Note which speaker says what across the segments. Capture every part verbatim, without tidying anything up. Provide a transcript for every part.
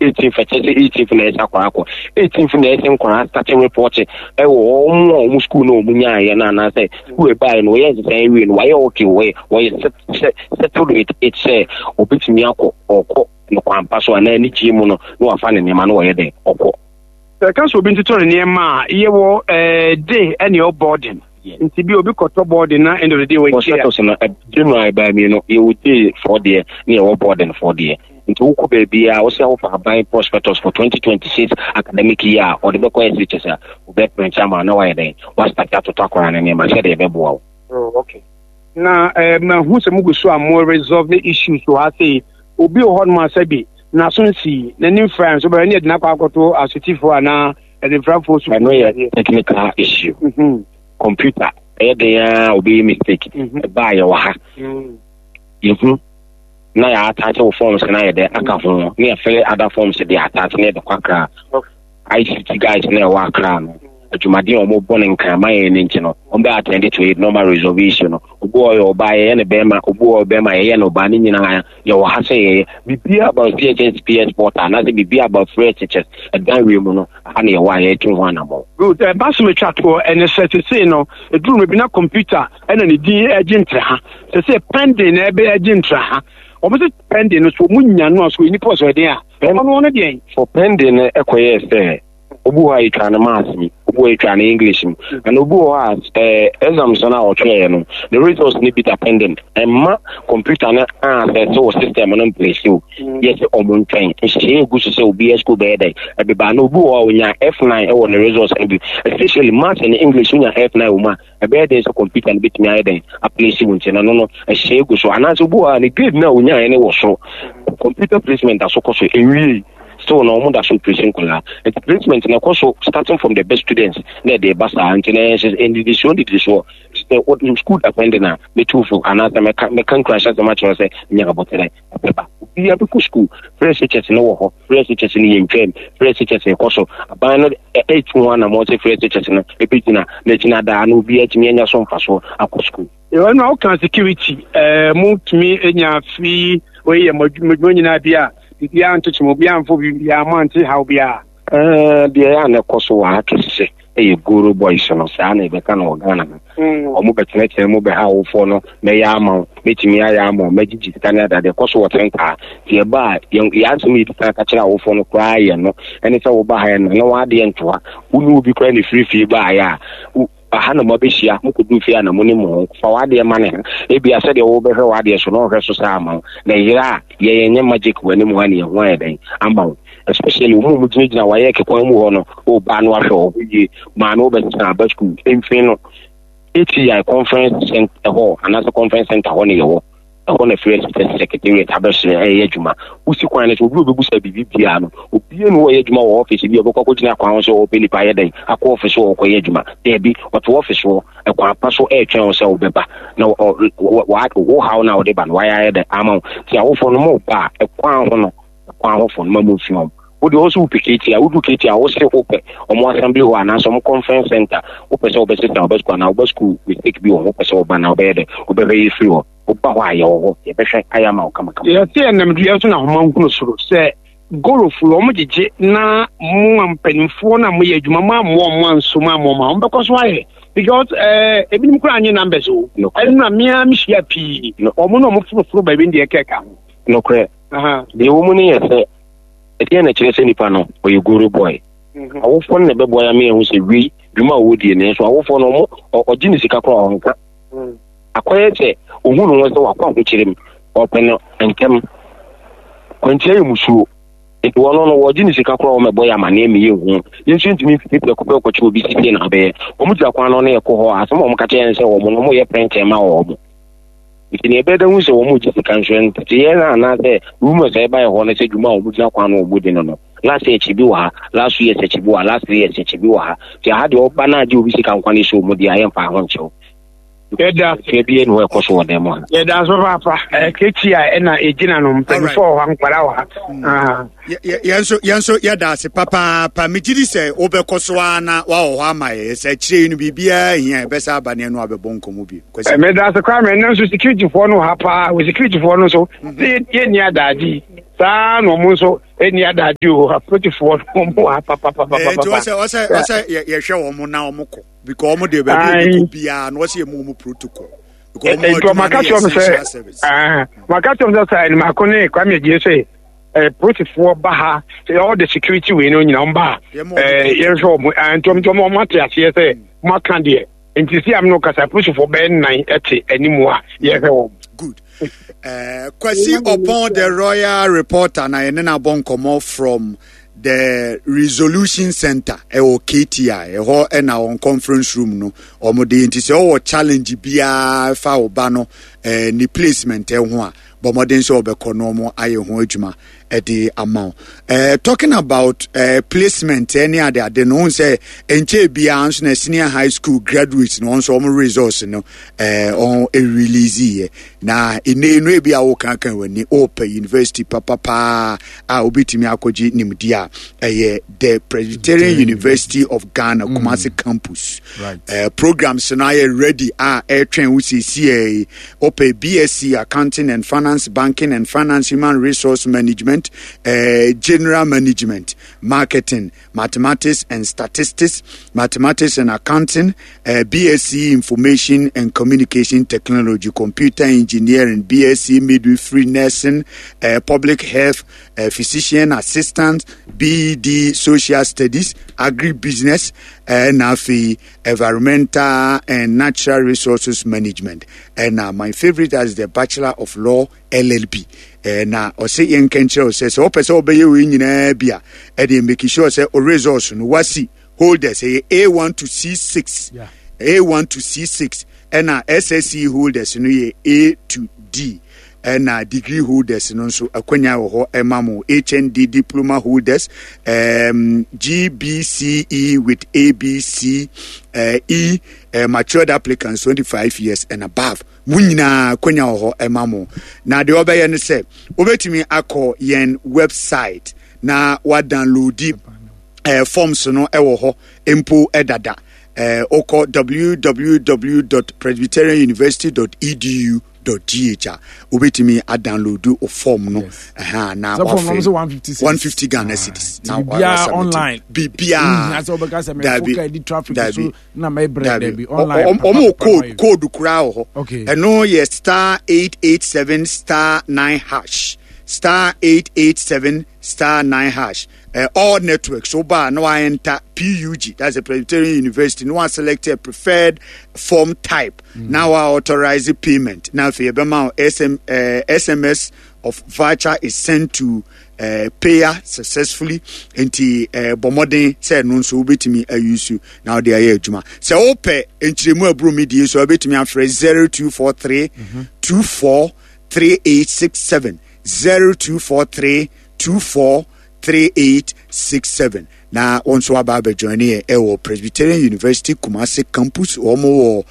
Speaker 1: Eighteenth ɛkyɛ sɛ eighteenth na ɛsɛ akɔra akɔ eighteenth na ɛsɛ nkɔra start report ɛwɔ wɔn a wɔn school na wɔn nyaayɛ no, anaasɛ school ɛbaeɛ no wɔyɛ nsesan awie no, wɔayɛ okay, wɔyɛ wɔyɛ settled with it sɛ obetumi akɔ, ɔkɔ no kwan pa so anaa anigye mu no na wafa ne nneɛma no, wɔyɛ dɛ ɔkɔ.
Speaker 2: Sɛ ɛka sɛ obi ntotɔ ne nneɛma a, yɛwɔ ɛɛ day ɛne ɛwɔ boarding, nti bi obi kɔtɔ boarding na end of the day wɔn
Speaker 1: Prospectus no, general ɛbaa mmienu: yɛwɔ day foɔ deɛ ne yɛwɔ boarding foɔ deɛ. Nti wokɔ baabi a wosɛ wofa aban prospectus for twenty twenty-six academic year a ɔde bɛkɔ S H S a, wobɛ print ama na wayɛ dɛn, wa start atotɔ akɔra ne nneɛma sɛdeɛ ɛbɛboa wo.
Speaker 2: Oh, okay. Na ɛɛ mahu sɛ mugu so a mo resolve the issues wɔ ha sei. Obi wɔ hɔnom a sɛbi n'aso nsi n'anim fra nso bɛrɛ ne yɛde n'akɔ akɔto asotifoɔ anaa ɛdefrafoɔ so.
Speaker 1: Ɛno yɛ technical issue.
Speaker 2: Mhm.
Speaker 1: Computer ɛyɛ den a obɛyɛ mistake.
Speaker 2: Mhm.
Speaker 1: Ɛbaa yɛwɔ ha,
Speaker 2: Mm.
Speaker 1: yɛhu na yɛ attach wo forms na yɛde aka ho ne yɛ fill other forms de attach ne yɛde kɔ Akra.
Speaker 2: Okay.
Speaker 1: I C T guys na ɛwɔ Akra no, adwumaden a wɔn bɔ ne nkrama yɛn ne nti no, wɔn bɛ attend to it normal resolve issue no. Obi wɔ yɛ ɔbaa, yɛyɛ ne bɛrima; obi wɔ bɛrima, yɛyɛ ne ɔbaa. Ne nyinaa yɛwɔ ha sɛ yɛyɛ biribiara about C H S P S portal anaasɛ biribiara about free S H S. Ɛdan wie mu no, aha na yɛwɔ a yɛtu ho anammɔn.
Speaker 2: Good. Ɛba so metwa toɔ ɛne sɛ sesei no ɛduru no bi na computer ɛna ne din agye ntra ha. Sesei pending na ɛbɛ agye ntra ha. Wɔn sɛ pending no so wɔn nya no a so nipa ɔsɔ ɛden a ɔno ɔno deɛn.
Speaker 1: For pending no, ɛkɔyɛɛ sɛ obi wɔ hɔ a yɛtwa no maths mu, obi wɔ hɔ a yɛtwa no English mu, ɛna obi wɔ hɔ a ɛɛ exams no a ɔtwerɛeɛ no, the results no bi da pending, ɛmma computer no access wɔ system no mplace o. Yɛ sɛ ɔmo ntwɛn nhyehyɛeɛ egu so sɛ obi yɛ school bɛyɛ dɛ ɛbɛba. Na obi wɔ hɔ a onya F nine ɛwɔ ne results no bi, especially maths and English, onya F nine wɔ mu a, ɛbɛyɛ den sɛ computer no bɛtumi ayɛ dɛn aplace wo. Nti no no no ɛhyɛ egu so, anaasɛ obi wɔ hɔ a ne grade no a onyaeɛ no wɔ soro, computer placement aso kɔ so ɛnwie still na wɔn da so place nkɔlaa. Nti placement na ɛkɔ so starting from the best students na ɛde ba saa. Nti na ɛyɛ sɛ ndidisuo ndidisuo sɛ wɔ school depending a, mɛtu fo anaasɛ mɛka mɛka nkurahyɛ asɛm akyerɛ sɛ nya abɔtɛrɛ ɛbɛba, obiara bɛkɔ school. Free S H S no wɔ hɔ, free S H S no yɛ ntwam, free S H S ɛkɔ so. Aban no ɛtu ho anammɔn sɛ free S H S no ɛbɛgyina na gyina daa na obiara atumi anya so mfasoɔ akɔ school.
Speaker 2: Ɛwɔ no a woka security, ɛɛ mo tumi nya free wei yɛ mo adwuma nyinaa bi a biribiara ntokyem, obiara mfo biribiara mo ante haw biara?
Speaker 1: Ɛɛ, deɛ ɛyɛ a na ɛkɔ so wɔ ha kɛse ɛyɛ goro boys no. Saa na yɛbɛka no wɔ Ghana ha. Ɔmo bɛtenatena mu bɛha awofoɔ no, mɛyɛ ama wo, mɛtumi ayɛ ama wo, mɛgyegye sika ne adadeɛ ɛkɔ so wɔ tentaa. Nti ɛba a yɛn yɛn asɛm yɛdi kan ka kyerɛ awofoɔ no koraa yɛ no ɛne sɛ woba ha yɛ no na wɔadeɛ ntoa wo ne obi koraa ne firi fie baayɛ a wo- aha na moabɛhyia, mokɔduru fie a na mo ne mo ho fa w'adeɛ ma ne ha. Ebia sɛdeɛ wobɛhwɛ w'adeɛ so na ɔhwɛ so saa ama wo na yere a yɛyɛ nyɛ magic wɔ anim ha ne yɛho ayɛ dɛn ama wo, especially wɔn a wɔgyinagyina wayɛ kekwan mu hɔ no. Ɔbaa no ahwɛ wɔ hɔ yie, maame wobɛsesa aba school mfin no K T I conference center hɔ anaasɛ conference center hɔ ne yɛwɔ ɛhɔ na free S H S secretariat abɛhyɛ ɛyɛ adwuma. Wosi kwan no so, obi a obebusa biribi biara no, obiara no wɔyɛ adwuma wɔ office bi a ɔbɛkɔ akɔgyina kwan ho sɛ ɔpɛ nipa ayɛ dɛn akɔ office hɔ ɔkɔyɛ adwuma. Daabi, ɔte office hɔ ɛkwan pa so ɛretwɛn wo sɛ wobɛba na wo haw no a wode ba no wayɛ ayɛ dɛn ama wo. Nti awofoɔ no mo ba a, ɛkwan ho no, ɛkwan ho fo no ma mo mfi hɔ. Wode wɔ so wopɛ K T I, wodu K T I, wo se wopɛ ɔmo assembly hɔ anaasɛ ɔmo conference center, wopɛ sɛ wobɛsesa wobɛ school anaa wobɛ school mistake bi wɔ ho, wopɛ sɛ woba na wobɛyɛ dɛ wobɛhwɛ yɛ firi hɔ, woba hɔ a yɛwɔ hɔ, yɛbɛhwɛ ayɛ ama wo kamakama.
Speaker 2: Yɛsɛ yɛnam dua so na ahoma nhunu soro sɛ gorofo wɔn gyegye na mo a mpanimfoɔ no a moyɛ adwuma mo ammoa ɔmo anso mo ammoa mo a wɔbɛkɔ so ayɛ, because ɛɛ ebinom koraa nye numbers o.
Speaker 1: Nokorɛ.
Speaker 2: Ɛno na mmea mehyia pii wɔn na wɔn foroforo baabi deɛ kɛka ho.
Speaker 1: Nokorɛ.
Speaker 2: Aha.
Speaker 1: Deɛ wɔ mu no yɛ sɛ ɛdeɛ na kyerɛ sɛ nipa no ɔyɛ goro boy.
Speaker 2: Mhm.
Speaker 1: Awofoɔ no na ɛbɛboa ya me ɛho sɛ wei dwuma a wɔdie no nso, awofoɔ no ɔmo ɔ- ɔgye ne sika koraa ɔnka.
Speaker 2: Mm.
Speaker 1: Akɔyɛ sɛ ohun ne ho sɛ wakɔ ahokyere mu, ɔpɛ no ntɛm, kwantia yɛ musuo, nti wɔn no wɔgye ne sika koraa wɔn ɛbɔ yɛ amaneɛ mi yɛ hu. Yɛn nso ntumi mfiti prɛko pɛ kɔkye obi sisi na abɛyɛ wɔn gyina kwan no ne yɛkɔ hɔ a, asɛm a wɔn ka kyerɛ yɛn sɛ wɔn no wɔn yɛ printing ma wɔn. Nti nea ɛbɛda hu sɛ wɔn gye sika nso nti yɛn na anaasɛ rumours a ɛba yɛ hɔ no sɛ dwuma a wɔn gyina kwan no wɔn di no no last year akyi bi wɔ ha, last two years akyi bi wɔ ha, last three years akyi bi wɔ ha. Nti aha deɛ ɔba na agye obi sika nkwa ne so wɔn di a, yɛmfa ho nkyɛw.
Speaker 2: Yɛda ase.
Speaker 1: Fɛ bi yɛ ne hɔ ɛkɔ so wɔ dan mu ha.
Speaker 2: Yɛda ase papaapa. Ɛɛ K T I ɛna egyina no, mpanimfoɔ wɔ ha, nkwadaa wɔ ha. Ah.
Speaker 3: Yɛ- yɛ- yɛn nso yɛn nso yɛda ase papaapa. Megye di sɛ wobɛkɔ so ara na woawɔ hɔ ama yɛ sɛ akyire yi no biribiara hia yɛbɛsa aba ne ɛno abɛbɔ nkɔmmɔ bio. Kwasi.
Speaker 2: Meda ase koraa mɛ. Ɛnam so securityfoɔ no wɔ ha paa, wɔ securityfoɔ no nso sɛ yɛnni adagye. Saa na ɔmo nso ɛni adagye o, apolisifoɔ no ɔmo wɔ ha papapapapa.
Speaker 3: Nti ɔsɛ ɔsɛ ɔsɛ yɛhwɛ wɔn na wɔn kɔ because wɔn deɛ baabi a yɛkɔ biara na ɔsɛ yɛ mu wɔn protocol.
Speaker 2: Nti ɔmo aka kyerɛ wɔn sɛ ɔmo aka kyerɛ wɔn sɛ sɛ ɛnimaako ne Kwame Agye sɛ ɛɛ polisifoɔ ba ha, all the security wei no nyinaa wɔn ba ɛɛ yɛhwɛ wɔn. Nti wɔn nti wɔn ate aseɛ sɛ wɔn aka deɛ, nti si am no kasa, polisifoɔ bɛyɛ nnan ɛte anim a yɛhwɛ wɔn.
Speaker 3: Good. Uh, Kwasi Opon, the royal reporter, na yɛne no abɔ nkɔmmɔ from the Resolution Center ɛwɔ K T I ɛhɔ, ɛna wɔn conference room no wɔn de. Nti sɛ ɔwɔ challenge biara fa wo ba no ɛɛ ne placement ɛho a, bɔ mmɔden sɛ ɔbɛkɔ na wɔn ayɛ ho adwuma ɛde ama wo. ɛɛ talking about ɛɛ placement ɛne ade ade no, ohun sɛ nkyɛn biara nso na senior high school graduates no, wɔn nso wɔn results no ɛɛ wɔn release yɛ. Na ene no ebi a wɔkankan wɔn ani ɔɔpɛ university papapaa a obetumi akɔgye nimdeɛ a, ɛyɛ the Presbyterian University of Ghana, mm. Kumasi campus. right. uh, programs no ayɛ ready a ɛretwɛn wo siesie. Ɔpɛ B S C Accounting and Finance, Banking and Finance, Human Resource Management, uh, General Management, Marketing, Mathematics and Statistics, Mathematics and Accounting, uh, B S C Information and Communication Technology, Computer Engineering, B S C Midwifery Nursing, uh, Public Health, uh, Physician Assistant, B E D Social Studies, Agribusiness, ɛna afei Environmental and Natural Resources Management, ɛna my favorite as the Bachelor of Law, L L B. Na ɔsɛ yɛn nkɛnkyerɛ sɛ sɛ wɔpɛ sɛ wɔbɛyɛ wei nyinaa bi a, ɛde make sure sɛ o results no, WASSCE holders ɛyɛ A one to C six, yeah. A one to C six, ɛna S S C E holders no yɛ A to D, ɛna degree holders no nso akwanya wɔ hɔ ɛma mo, H N D, diploma holders, um, G B C E with A B C uh, E, uh, matured applicants twenty-five years and above, mo nyinaa akwanya wɔ hɔ ɛma mo. Na deɛ ɔbɛyɛ no sɛ wobɛtumi akɔ yɛn website na wadownload uh, forms no ɛwɔ hɔ mpo ɛdada. uh, wokɔ w w w dot presbyterianuniversity dot edu dot g h a, wobɛtumi adownload o form no ɛha na
Speaker 4: wafɛ
Speaker 3: one fifty Ghana cedis.
Speaker 4: Na biribiara online.
Speaker 3: Biribiara.
Speaker 4: Dabi, dabi,
Speaker 3: dabi, ɔmo code code koraa wɔ hɔ. Ɛno yɛ star eight eight seven star nine hash, star eight eight seven star nine hash. uh, all networks so ba na enter P U G, that's a Presbyterian University, no one select a preferred form type mm. Now I authorize the payment. Now if you S M, uh, S M S of voucher is sent to uh, payer successfully. Nti uh, bɔ mmɔden sɛ ɛno nso wobɛtumi ayusu na wode ayɛ adwuma. Sɛ wopɛ nkyerɛmu aburo mi die so, wobɛtumi afrɛ zero two four three two four three eight six seven, zero two four three two four three eight six seven, na wɔn nso aba abɛjoin yɛ ɛwɔ Presbyterian University Kumasi campus. Wɔn wɔ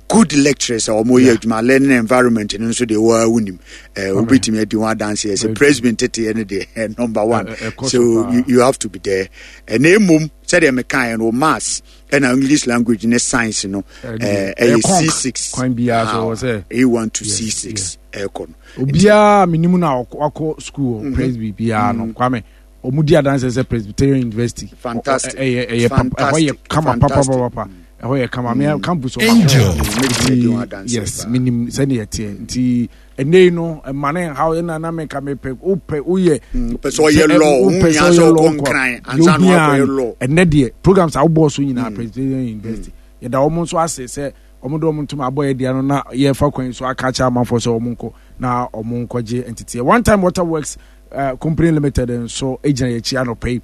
Speaker 3: good lecturers a wɔn yɛ adwuma. Learning environment no nso deɛ, wɔn a wonim ɛɛ wobɛtumi adi wɔn adanseɛ sɛ Presby nteteɛ no deɛ, number one. So you, you have to be there. Ɛna emom sɛdeɛ meka yɛn no, maths ɛna English language ne science no ɛɛ ɛyɛ C six.
Speaker 4: Kwan biara so wɔ sɛ
Speaker 3: A one to C six ɛɛkɔ no.
Speaker 4: Obiara minimu na wakɔ school wɔ Presby biara no, Kwame, ɔmo di adanse sɛ Presbyterian University
Speaker 3: Fantastic.
Speaker 4: ɛyɛ ɛyɛ papa, ɛhɔ yɛ kama papapapa, ɛhɔ yɛ kama. Mea campus ɔmo
Speaker 3: Angel.
Speaker 4: Nti yes, minim sɛdeɛ ɛteɛ. Nti ɛnɛ yi no, ɛma ne nhaw ɛna na meka mepɛ wopɛ woyɛ
Speaker 3: pɛ sɛ ɔyɛ law, wo
Speaker 4: wopɛ
Speaker 3: hia
Speaker 4: sɛ
Speaker 3: sɛ
Speaker 4: ɔyɛ
Speaker 3: ɔkɔ
Speaker 4: law nkɔ
Speaker 3: Nkran
Speaker 4: deɛ
Speaker 3: ansa na
Speaker 4: ohia
Speaker 3: wakɔyɛ
Speaker 4: no,
Speaker 3: law.
Speaker 4: Ɛnɛ deɛ programs a wobɔɔ so nyinaa, Presbyterian University, yɛda wɔn nso ase sɛ wɔn de wɔn ntoma abɔ yɛ deɛ no na yɛfa kwan yi so aka akyerɛ amanfoɔ sɛ wɔn nkɔ na wɔn nkɔgye nteteɛ. One Time Water Works uh, Company Limited nso gyina yɛn akyi anɔpɛ yi.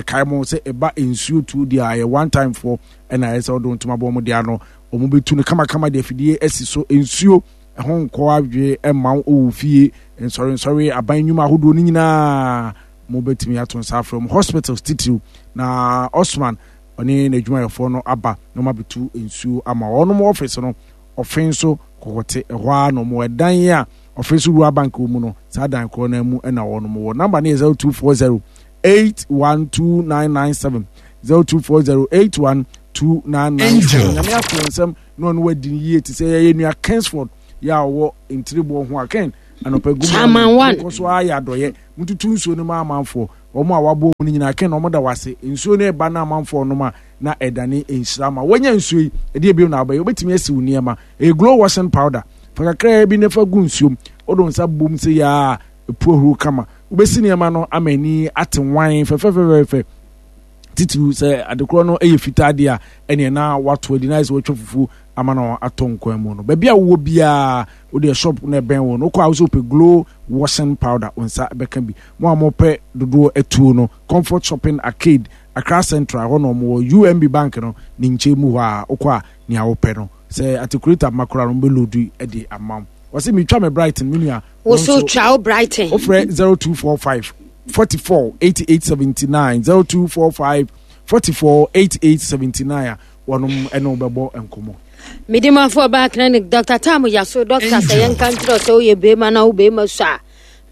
Speaker 4: Yɛkae mo sɛ ɛba nsuo tuo deɛ a, ɛyɛ One Time foɔ ɛna ɛyɛ sɛ wɔde ntoma bɔ wɔn deɛ ano, wɔn bɛtu no kamakama de afidie asi so, nsuo ɛho nkɔ adwe ɛma wo wɔ fie, nsɔrensɔre, aban nnwuma ahodoɔ no nyinaa, mo bɛtumi ato nsa afrɛ mu, hospitals titiriw. Na Osman ɔne n'adwumayɛfoɔ no aba na wɔn abɛtu nsuo ama wɔn. Office no, ɔfe nso kɔkɔte ɛhɔ ara na wɔn ɛdan a ɔfe nso Rural Bank wɔ mu no, saa dan korɔ no mu ɛna wɔn wɔ. Number no yɛ zero two four zero eight one two nine nine seven, zero two four zero eight one two nine nine seven. Nyame ato nsɛm na ɔno wadi ne yie te sɛ yɛyɛ nua Kingsford yɛ a ɔwɔ Ntiribɔ ho a Ken Anɔpa gu
Speaker 5: Chairman one.
Speaker 4: Kɔ so ayɛ adɔyɛ. Mututu nsuo no ma amanfoɔ. Wɔn a wabɔ mu no nyinaa kɛn na wɔn da wase. Nsuo no ɛba na amanfoɔ nom a na ɛdane nhyira ma. Wɔnya nsuo yi, ɛdeɛ ebien na abɛyɛ. Wobɛtumi asi wo nneɛma. Ɛyɛ glow washing powder. Fa kakraa bi na fa gu nsuom. Wode wo nsa bom sɛ yaa epu ahuru kama. Wobɛsi nneɛma no ama ani ate wan fɛfɛfɛfɛ. Titiriw sɛ adekorɔ no yɛ fitaa deɛ a ɛneɛ na wato adi na ayɛ sɛ watwa fufuo ama no atɔ nkwan mu no. Baabi a wowɔ biara wodeɛ shop na ɛbɛn wo no wokɔ a wo sɛ wopɛ glow washing powder wo nsa bɛka bi. Mo a mopɛ dodoɔ atuo no Comfort Shopping Arcade Accra Central hɔ na ɔmo wɔ U M B Bank no ne nkyɛn mu hɔ a wokɔ a nea wopɛ no sɛ articulator ma koraa no mbɛlodu de ama wo. Wɔse metwa me Brighton me nua.
Speaker 5: Wo so twa wo Brighton.
Speaker 4: Wofrɛ zero two four five forty-four eighty-eight seventy-nine zero two four five forty-four eighty-eight seventy-nine a wɔnom ɛne wo bɛbɔ nkɔmmɔ.
Speaker 5: Medimafo ɔbaa clinic Doctor Tam Yaso doctor sɛ yɛnka nkyerɛ sɛ woyɛ bɛrima na wo bɛrima so a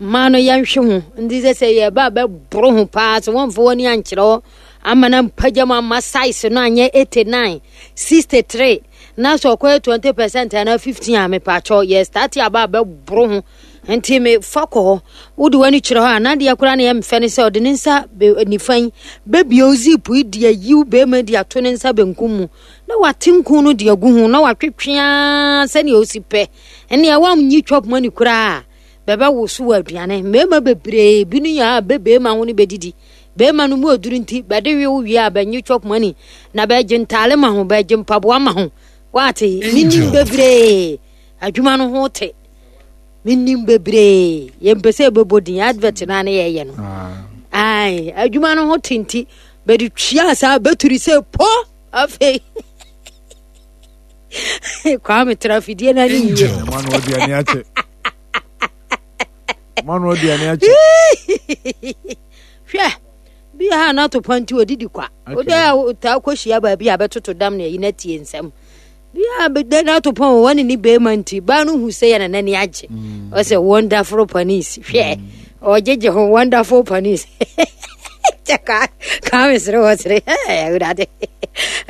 Speaker 5: mmaa no yɛnhwe ho nti sɛ sɛ yɛba bɛboro ho paa sɛ wɔmfa w'ani ankyerɛ hɔ ama na mpagya mu ama size no anyɛ eighty-nine sixty-three na sɛ ɔkɔyɛ twenty percent anaa fifteen a mepaakyɛw yɛ start aba bɛboro ho nti me fa kɔ hɔ wode w'ani kyerɛ hɔ a na deɛ koraa na yɛmfɛ ne sɛ ɔde ne nsa nifa yi bɛbie zip yi de ayiw bɛrima de ato ne nsa benkum mu na wate nku no de agu ho na watwetwea sɛnea ɔsi pɛ ɛnea wamnyi chop money koraa bɛbɛwo so wɔ aduane mmarima bebree bi no yɛ a bɛbɛrima ho no bɛdidi bɛrima no mu oduru nti bɛde we wo wie a bɛnyi chop money na bɛgye ntaale ma ho bɛgye mpaboa ma ho wate menim bebree adwuma no ho te menim bebree yɛmpɛ sɛ ɛbɛbɔ din advert no ane yɛyɛ no ai adwuma no ho te nti bɛde twia saa bɛturi sɛ po afei Kwame tra fidie no ane yie hwɛ bi ha na to panti odidi kwa ode a ta kɔhyia baabi a bɛtoto dam na ayi na tie nsɛm bi a bɛda na to pɔn wɔne ne bɛrima nti baa no hu sɛ yɛ na n'ani agye ɔsɛ wonderful panis hwɛ ɔgyegye ho wonderful panis kyɛ ka ka mesere wɔ sere awurade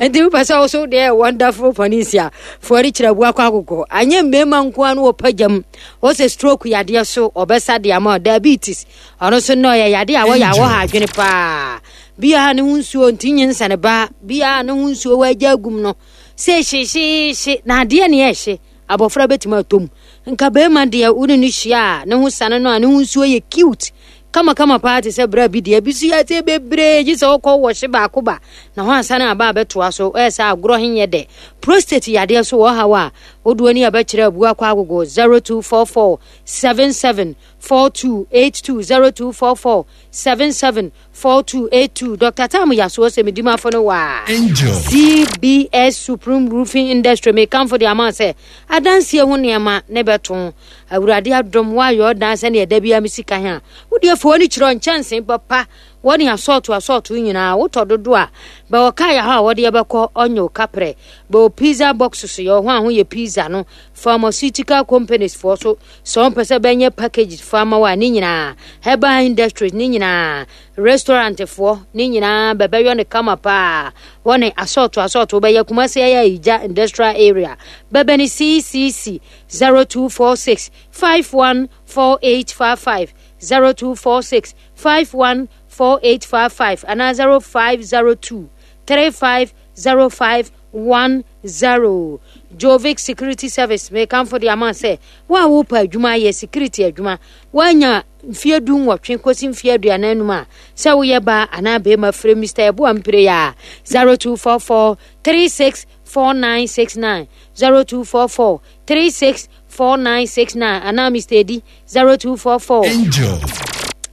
Speaker 5: nti wopɛ sɛ wo so deɛ wonderful panis a foɔre kyerɛ abu akɔ akokɔ anyɛ mmarima nko a no wɔpa gyam wɔ sɛ stroke yadeɛ so ɔbɛsa de ama diabetes ɔno so no ɔyɛ yadeɛ a wɔyɛ a wɔha adwene paa bia ne ho nsuo nti nye nsane ba bia ne ho nsuo wɔagya agum no sɛ hyehyehye na adeɛ ne ɛhye abɔfra bɛtumi atom nka bɛrima deɛ wo ne no hyia a ne ho sane no a ne ho nsuo yɛ cute kama kama paa te sɛ bra bi deɛ bi so yɛ sɛ bebree gye sɛ wokɔ wɔhye baako ba na ho asane aba a bɛtoa so ɛyɛ sɛ agorɔ henyɛ dɛ prostate yadeɛ so wɔ haw a wodoɔ ni a bɛkyerɛ abu akɔ agogo zero two four four seven seven four two eight two zero two four four seven seven four two eight two Doctor Tam Yaso sɛ medimafo no waa C B S Supreme Roofing Industry me kamfo de ama sɛ adansie ho nneɛma ne bɛto awurade adom woayɛ ɔdan sɛnea ɛda bia me sika he a wodeɛ fa w'ani kyerɛ nkyɛnse papa wɔne asɔɔto asɔɔto nyinaa wotɔ dodo a bɛwɔ kaa yɛ hɔ a wɔde yɛbɛkɔ ɔnyɛ kaprɛ bɛwɔ pizza box so yɛ ho a ho yɛ pizza no pharmaceutical companies foɔ so sɛ wɔmpɛ sɛ bɛnyɛ package fa ma wa ne nyinaa herbal industries ne nyinaa restaurant foɔ ne nyinaa bɛbɛyɔ ne kama paa wɔne asɔɔto asɔɔto bɛyɛ Kumasi ɛyɛ Ija industrial area bɛbɛ ne C C C zero two four six five one four eight five five zero two four six five one four eight five five and zero five zero two three five zero five one zero. Jovic Security Service may come for the amount say wa wo pa adwuma ye security adwuma wanya mfie du nwɔtwe kɔsi mfie aduanan num a sɛ woyɛ ba anaa bɛrima frɛ Mister Eboa Mpire ya zero two four four three six four nine six nine zero two four four three six four nine six nine anaa Mister Edi zero two four four
Speaker 6: Angel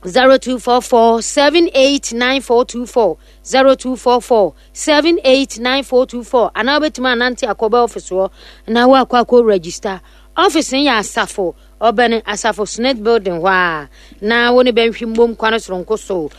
Speaker 5: zero two four four seven eight nine four two four zero two four four seven eight nine four two four anaa wobɛtumi anante akɔbɛ office hɔ na woakɔ akɔ register office no yɛ asafo ɔbɛne asafo Senate building hɔ a na wo ne bɛnhwe mmom kwane soronko so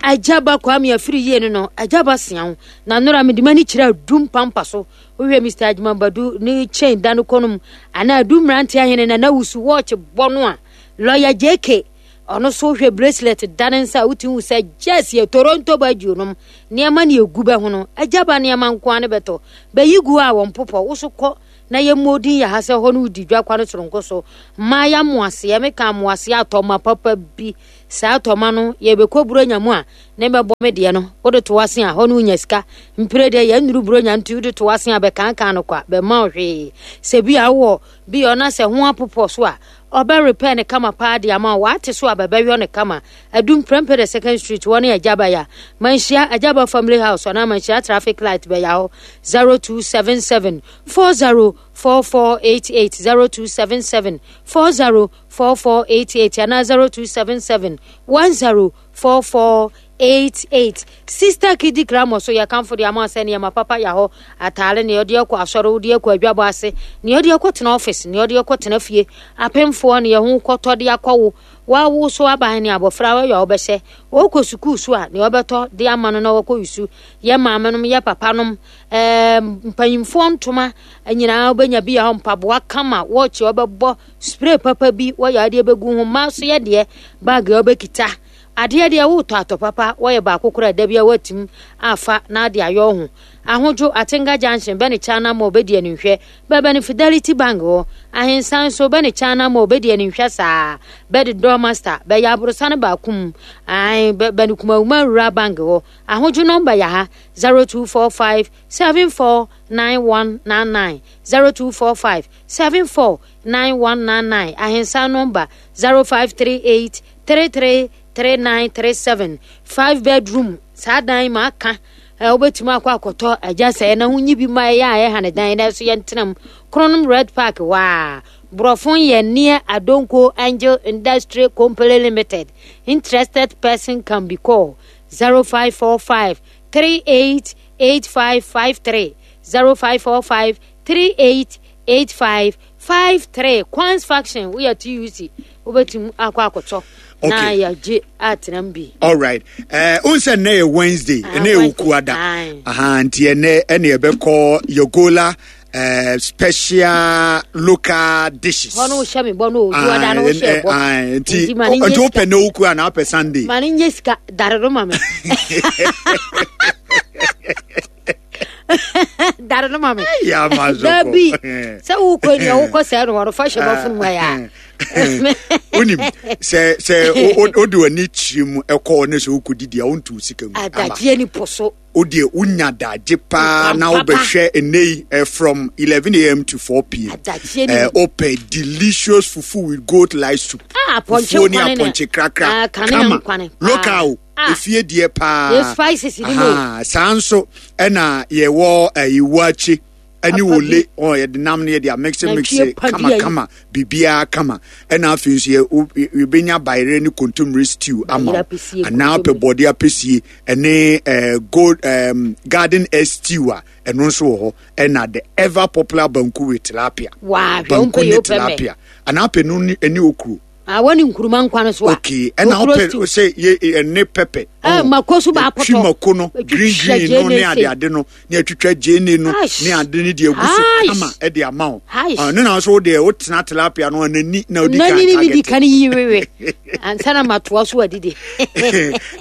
Speaker 5: agyaba Kwame afiri yie no no agyaba sea na nora mede m'ani kyerɛ adum pampa so wohwɛ Mister Ajimabadu ne chain da no kɔnom anaa adum mmerante ahene na na wusu watch bɔ no a lawyer J K ɔno so hwɛ bracelet da ne nsa a wotumi hu sɛ yes yɛ Toronto badwuo nom nneɛma ne egu bɛ ho no agyaba nneɛma nko ara ne bɛtɔ bɛyi gu a wɔn popɔ wo so kɔ Na yɛmmɔ din yɛ ha sɛ hɔ no wodi dwa kwa no soronko so. Mmaa yɛ amoaseɛ, meka amoaseɛ atɔma papa bi. Saa atɔma no, yɛbɛkɔ Buronya mu a, ne bɛbɔ me deɛ no, wode to ase a, hɔ no wonya sika. Mpire deɛ yɛnnuru Buronya nti wode to ase a, bɛkankan no kwa, bɛma wo hwee. Sɛ bi a wowɔ bi a ɔna sɛ ho apopɔ so a, ɔbɛ repair ne kama paa de ama wo. Wate so a, bɛbɛyɔ ne kama. Adum Prempeh the Second Street, wɔ ne Agyaba ya. Manhyia Agyaba Family House, anaa Manhyia Traffic Light bɛya hɔ. zero two seven seven four zero four four eight eight, zero two seven seven four zero four four eight eight, anaa zero two seven seven one zero four four eight eight. Sister Kidi Kramo so yɛkamfo de ama sɛ nneɛma papa yɛ hɔ. Ataare nea ɔde akɔ asɔre, wode akɔ adwabɔ ase, nea ɔde akɔ tena office, nea ɔde akɔ tena fie, apemfoɔ ne yɛho kɔtɔ de akɔwo wawo so aban ne abɔfra wɔyɛ a wɔbɛhyɛ wɔkɔ sukuu so a, nea ɔbɛtɔ de ama no na wɔkɔ yusu. Yɛ maame nom, yɛ papa nom, ɛɛ mpanyinfoɔ ntoma nyinaa wobɛnya bi yɛ hɔ. Mpaboa kama, wɔɔkye ɔbɛbɔ spray papa bi, wɔyɛ adeɛ bɛgu ho. Mmaa so yɛ deɛ bag a wɔbɛkita adeɛ deɛ wotɔ atɔ papa, wɔyɛ baako koraa da bi a watim afa na ade ayɛ ho. Ahodwo Atenga Junction bɛne China ma ɔbɛdi animhwɛ, bɛbɛ ne Fidelity Bank hɔ. Ahensan so bɛne China ma ɔbɛdi animhwɛ saa, bɛde Dormaster bɛyɛ aborosa no baako mu ae, bɛne Kumawuma Rural Bank hɔ. Ahodwo nɔmba yɛ ha zero two four five seven four nine one nine nine, zero two four five seven four nine one nine nine. Ahensan nɔmba zero five three eight three three three nine three seven. Five bedroom saa dan ma aka ɛ, wobɛtumi akɔ akɔtɔ agya sɛ na ho nyi bi ma ɛyɛ a ɛha ne dan na ɛso yɛntena mu. Kronom Red Park hɔ a borɔfo yɛ near Adonko Angel Industry Company Limited. Interested person can be called zero five four five three eight eight five five three, zero five four five three eight eight five five three. Kwans Faction woyɛ T U C, wobɛtumi akɔ akɔtɔ na
Speaker 3: Okay.
Speaker 5: yɛgye atena mu bi.
Speaker 3: All right, uh, n sɛ nnɛ yɛ Wednesday.
Speaker 5: Ah,
Speaker 3: ɛnɛ yɛ
Speaker 5: Wednesday.
Speaker 3: Okuada.
Speaker 5: Aye.
Speaker 3: Aha, nti ɛnɛ ɛne yɛbɛkɔ Yogola uh, special local dishes.
Speaker 5: Hɔ no wohyɛ me bɔ no oduada no wohyɛ bɔ.
Speaker 3: Aye, nti
Speaker 5: Nti ma ne nyɛ
Speaker 3: nti
Speaker 5: sika.
Speaker 3: wopɛ ne woku anaa wopɛ Sunday?
Speaker 5: Ma ne nyɛ sika dare no ma me, dare no ma me.
Speaker 3: Ya ma so.
Speaker 5: Dabi sɛ wokɔ nea wokɔ sɛɛ no hɔ no fa hyɛ bɔfo mu ayɛ a.
Speaker 3: Wonim sɛ sɛ wo- wo- wode w'ani kyerɛ mu ɛkɔɔ ne sɛ wokɔdidi a, wonto sika mu ama.
Speaker 5: Adagyeɛ ni po so.
Speaker 3: Wodeɛ wonya dagye paa na
Speaker 5: Papa.
Speaker 3: wobɛhwɛ ɛnɛ yi eh, from eleven a m to four p m.
Speaker 5: Adagyeɛ ni
Speaker 3: eh, wopɛ delicious fufu with goat light soup,
Speaker 5: Ah, apɔnkye
Speaker 3: fufuo ne
Speaker 5: nkwane ne-
Speaker 3: apɔnkye krakra
Speaker 5: Ah, kanea
Speaker 3: kama
Speaker 5: nkwane paa.
Speaker 3: local o.
Speaker 5: Ah.
Speaker 3: Efie deɛ paa.
Speaker 5: Yɛ spices ni mu o.
Speaker 3: Aha, saa nso ɛna yɛwɔ ɛyi waakye ɛne
Speaker 5: Papa
Speaker 3: wole
Speaker 5: bi.
Speaker 3: ɔ yɛde nam no yɛde amix mix.
Speaker 5: Nantwie pa bi
Speaker 3: Kama
Speaker 5: ayi.
Speaker 3: kama, biribiara kama. Ɛna afei nso yɛ wo- yɛbɛnya bayerɛ ne kontomire stew ama
Speaker 5: Bayerɛ
Speaker 3: wo.
Speaker 5: apɛsie,
Speaker 3: Anaa wopɛ
Speaker 5: kontomire.
Speaker 3: bɔde apɛsie ɛne ɛɛ gold ɛɛm garden egg stew a, ɛno nso wɔ hɔ. Ɛna the ever popular banku with tilapia.
Speaker 5: Waa, hwɛ,
Speaker 3: Banku
Speaker 5: wompɛ
Speaker 3: ne
Speaker 5: yɛ, wopɛ mɛ.
Speaker 3: tilapia anaa wopɛ no ne ɛne okuro.
Speaker 5: Ah, wɔne nkuruma nkwa no so a.
Speaker 3: Okay, ɛna
Speaker 5: Okuro
Speaker 3: wopɛ
Speaker 5: stew.
Speaker 3: sɛ yɛ ɛne pɛpɛ.
Speaker 5: Eh, mako so baapɔtɔ.
Speaker 3: Twi mako no
Speaker 5: Atwitwa
Speaker 3: green green no ne
Speaker 5: gyeene
Speaker 3: ade
Speaker 5: sei.
Speaker 3: ade no ne atwitwa gyeene no
Speaker 5: Aish.
Speaker 3: ne ade ne deɛ egu so
Speaker 5: Aish.
Speaker 3: kama ɛde ama wo.
Speaker 5: Aish.
Speaker 3: Ah, ne na nso wo deɛ wotena tilapia no anani na wodi kan
Speaker 5: nani ne medi
Speaker 3: target.
Speaker 5: kan yi wewe ansa na matoa so adidi.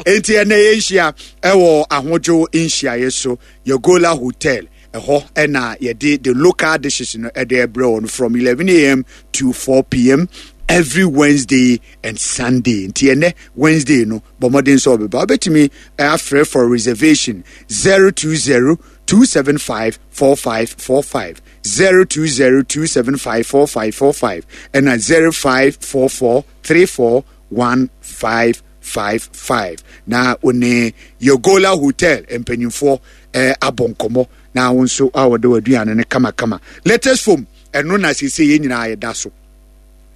Speaker 3: Enti ɛnɛ yɛnhyia ɛwɔ Ahodwo nhyiaeɛ so, Yogola Hotel ɛhɔ ɛna yɛde the local dishes no ɛde ɛbrɛ wɔ no from eleven a m to four p m every Wednesday and Sunday. Nti ɛnɛ Wednesday no, bɔ mmɔden sɛ ɔbɛba. Wobɛtumi afrɛ for reservation zero two zero two seven five four five four five, zero two zero two seven five four five four five, ɛna zero five four four three four one five five five, na one Yogola Hotel mpanyinfoɔ eh, abɔ nkɔmmɔ na wo nso a wɔde w'aduane no kamakama. Latest foam, ɛno na seesei yɛn nyinaa yɛda so.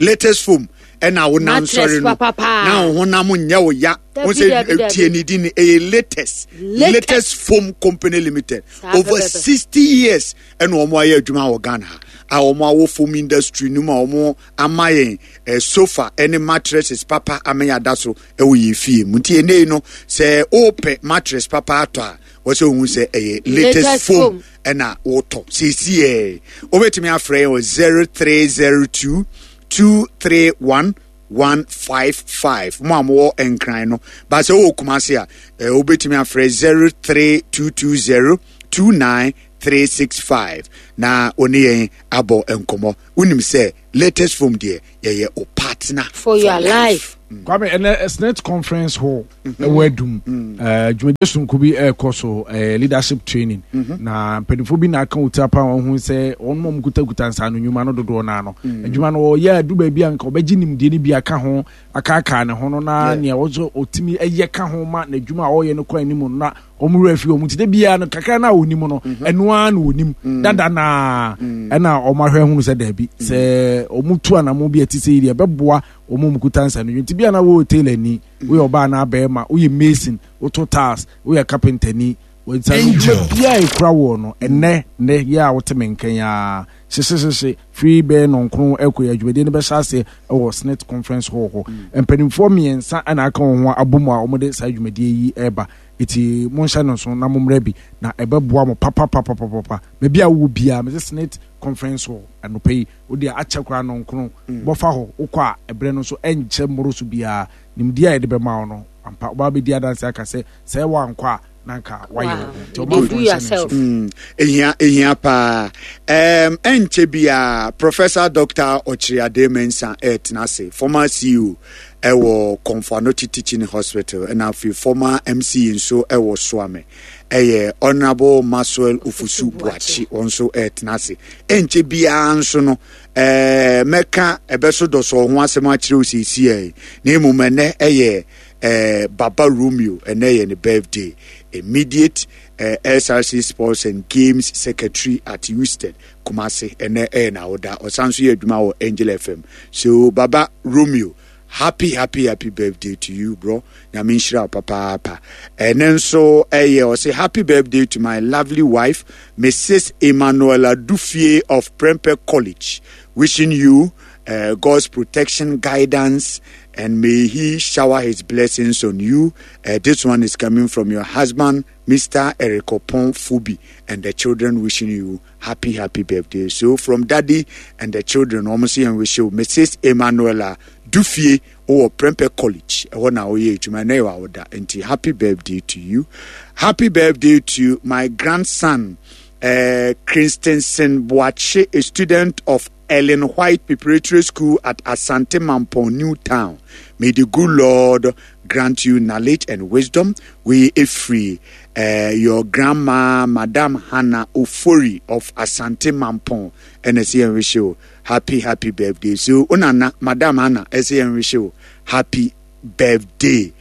Speaker 3: Latest foam ɛna wo nam
Speaker 5: Mattress
Speaker 3: sɔre no
Speaker 5: papa paa.
Speaker 3: na wo honam nyɛ wo ya.
Speaker 5: Dabi,
Speaker 3: Wo sɛ
Speaker 5: dabi, dabi.
Speaker 3: tie ne din no, ɛyɛ Latest.
Speaker 5: Latest.
Speaker 3: Latest Foam Company Limited.
Speaker 5: Saa
Speaker 3: Over
Speaker 5: pɛpɛpɛ.
Speaker 3: sixty years ɛna wɔn ayɛ adwuma wɔ Ghana ha a wɔn awɔ foam industry no mu a wɔn ama yɛn eh, sofa ɛne mattresses papa ama yɛn ada so ɛwɔ yɛn fie mu. Nti ɛnɛ yi no, sɛ ɔɔpɛ mattress papa atɔ a, wɔsɛ ohun sɛ ɛyɛ Latest
Speaker 5: Latest
Speaker 3: Foam
Speaker 5: Foam.
Speaker 3: Ɛna wotɔ seesi yɛ, wobɛtumi afrɛ yɛn wɔ zero three zero two two three one one five five. Mo a mowɔ Nkran no baasɛ wowɔ Kumase a, eh, wobɛtumi afrɛ zero three two two zero two nine three six five na wo ne yɛn abɔ nkɔmmɔ. Wonim sɛ latest foam deɛ, yɛyɛ o partner
Speaker 5: for your life.
Speaker 4: Mm. Kwame, ɛnɛ SSNIT Conference Hall mhm. ɛwɔ Adum, mm. eh, dwumadie sononko bi ɛrekɔ so, eh, leadership training mhm. na mpanimfoɔ bi na aka wo tiri apa wɔn ho sɛ wɔn mu kutakuta nsaano nnwuma no dodoɔ naa no mm. adwuma no wɔyɛ adu baabi a nka wɔbɛgye nimdeɛ no bi aka ho akaakaa ne ho no, na nea wɔsɔ ɔtumi ɛyɛ ka ho ma n'adwuma a ɔreyɛ no kɔ anim no, na wɔn werɛ fi wɔn ti de biara no kakra na wɔnim no, mhm. ɛno ara na wɔnim mm. dada naa mm. ɛna wɔn ahwɛ hunu sɛ daabi, mm. sɛ wɔn tu anamo bi a ɛte sɛ yi deɛ, ɛbɛboa wɔn a wɔkuta nsa no. Nti bi a na wɔyɛ tailor ni, woyɛ ɔbaa na abɛɛma, woyɛ mason, woto tiles, woyɛ carpenter ni, nsa no dwuma biara ekura wɔ no. Ɛnɛ nɛ yɛ a wote me nkan a hyehyehyehye firi bɛyɛ nɔnkron ɛkɔ yɛ adwumadie no bɛhyɛ aseɛ ɛwɔ SSNIT Conference Hall hɔ. Mpanimfoɔ mmiɛnsa ɛna aka wɔn ho abɔ mu a wɔde saa dwumadie yi ɛreba, eti monhyɛ no nso na mommrɛ bi na ɛbɛboa mo papapapapapa baabi a wowɔ biara. Mese SSNIT Conference Hall anɔpa yi, wode akyɛ koraa nɔnkron bɔfa hɔ, wokɔ a ɛberɛ no nso ɛnkyɛ mmoro so biara. Nimdeɛ a yɛde bɛma wo no ampa wobaa bɛdi adanse aka sɛ sɛ woankɔ a na nka wayɛ wo ho, nti ɔmanfoɔ nhyɛ no nso.
Speaker 3: Ehia ehia paa. um, ɛnkyɛ biara Professor Doctor Ɔkyerɛade Mensah ɛretena ase, former C E O ɛwɔ Komfo Anokye Teaching Hospital, ɛna afei former M C E nso ɛwɔ Suame, ɛyɛ Honourable Maxwell Ofosu Boakye, wɔn nso ɛretena ase. Ɛnkyɛ biara nso no ɛɛ mɛka ɛbɛso dɔsɔ ho asɛm akyerɛ wo seesie, na mmom ɛnɛ ɛyɛ ɛɛ Baba Romeo, ɛnɛ yɛ ne birthday. Immediate uh, S R C Sports and Games Secretary at USTED Kumasi, ɛnɛ ɛyɛ n'awoda. Ɔsan so yɛ adwuma wɔ Angel F M. So Baba Romeo, happy happy happy birthday to you, bro. Nyame nhyira wo papaapa. Ɛnɛ nso ɛyɛ, ɔsɛ happy birthday to my lovely wife, Missus Emmanuela Dufie of Prempeh College, wishing you uh, God's protection, guidance, and may He shower His blessings on you. Uh, this one is coming from your husband, Mister Eric Opon Fubi, and the children wishing you happy, happy birthday. So from Daddy and the children, almost and wish you Missus Emanuela Dufie or Prempeh College. Ɛhɔ na woyɛ adwuma na ɛwɔ awoda. Nti happy birthday to you. Happy birthday to my grandson, uh, Christensen Boache, a student of Ellen White Preparatory School at Asante Mampong New Town. May the good Lord grant you knowledge and wisdom. We free uh, your grandma, Madam Hannah Ofori of Asante Mampong. And I say wish you happy, happy birthday. So, Unana, Madam Hannah, I say wish you happy birthday.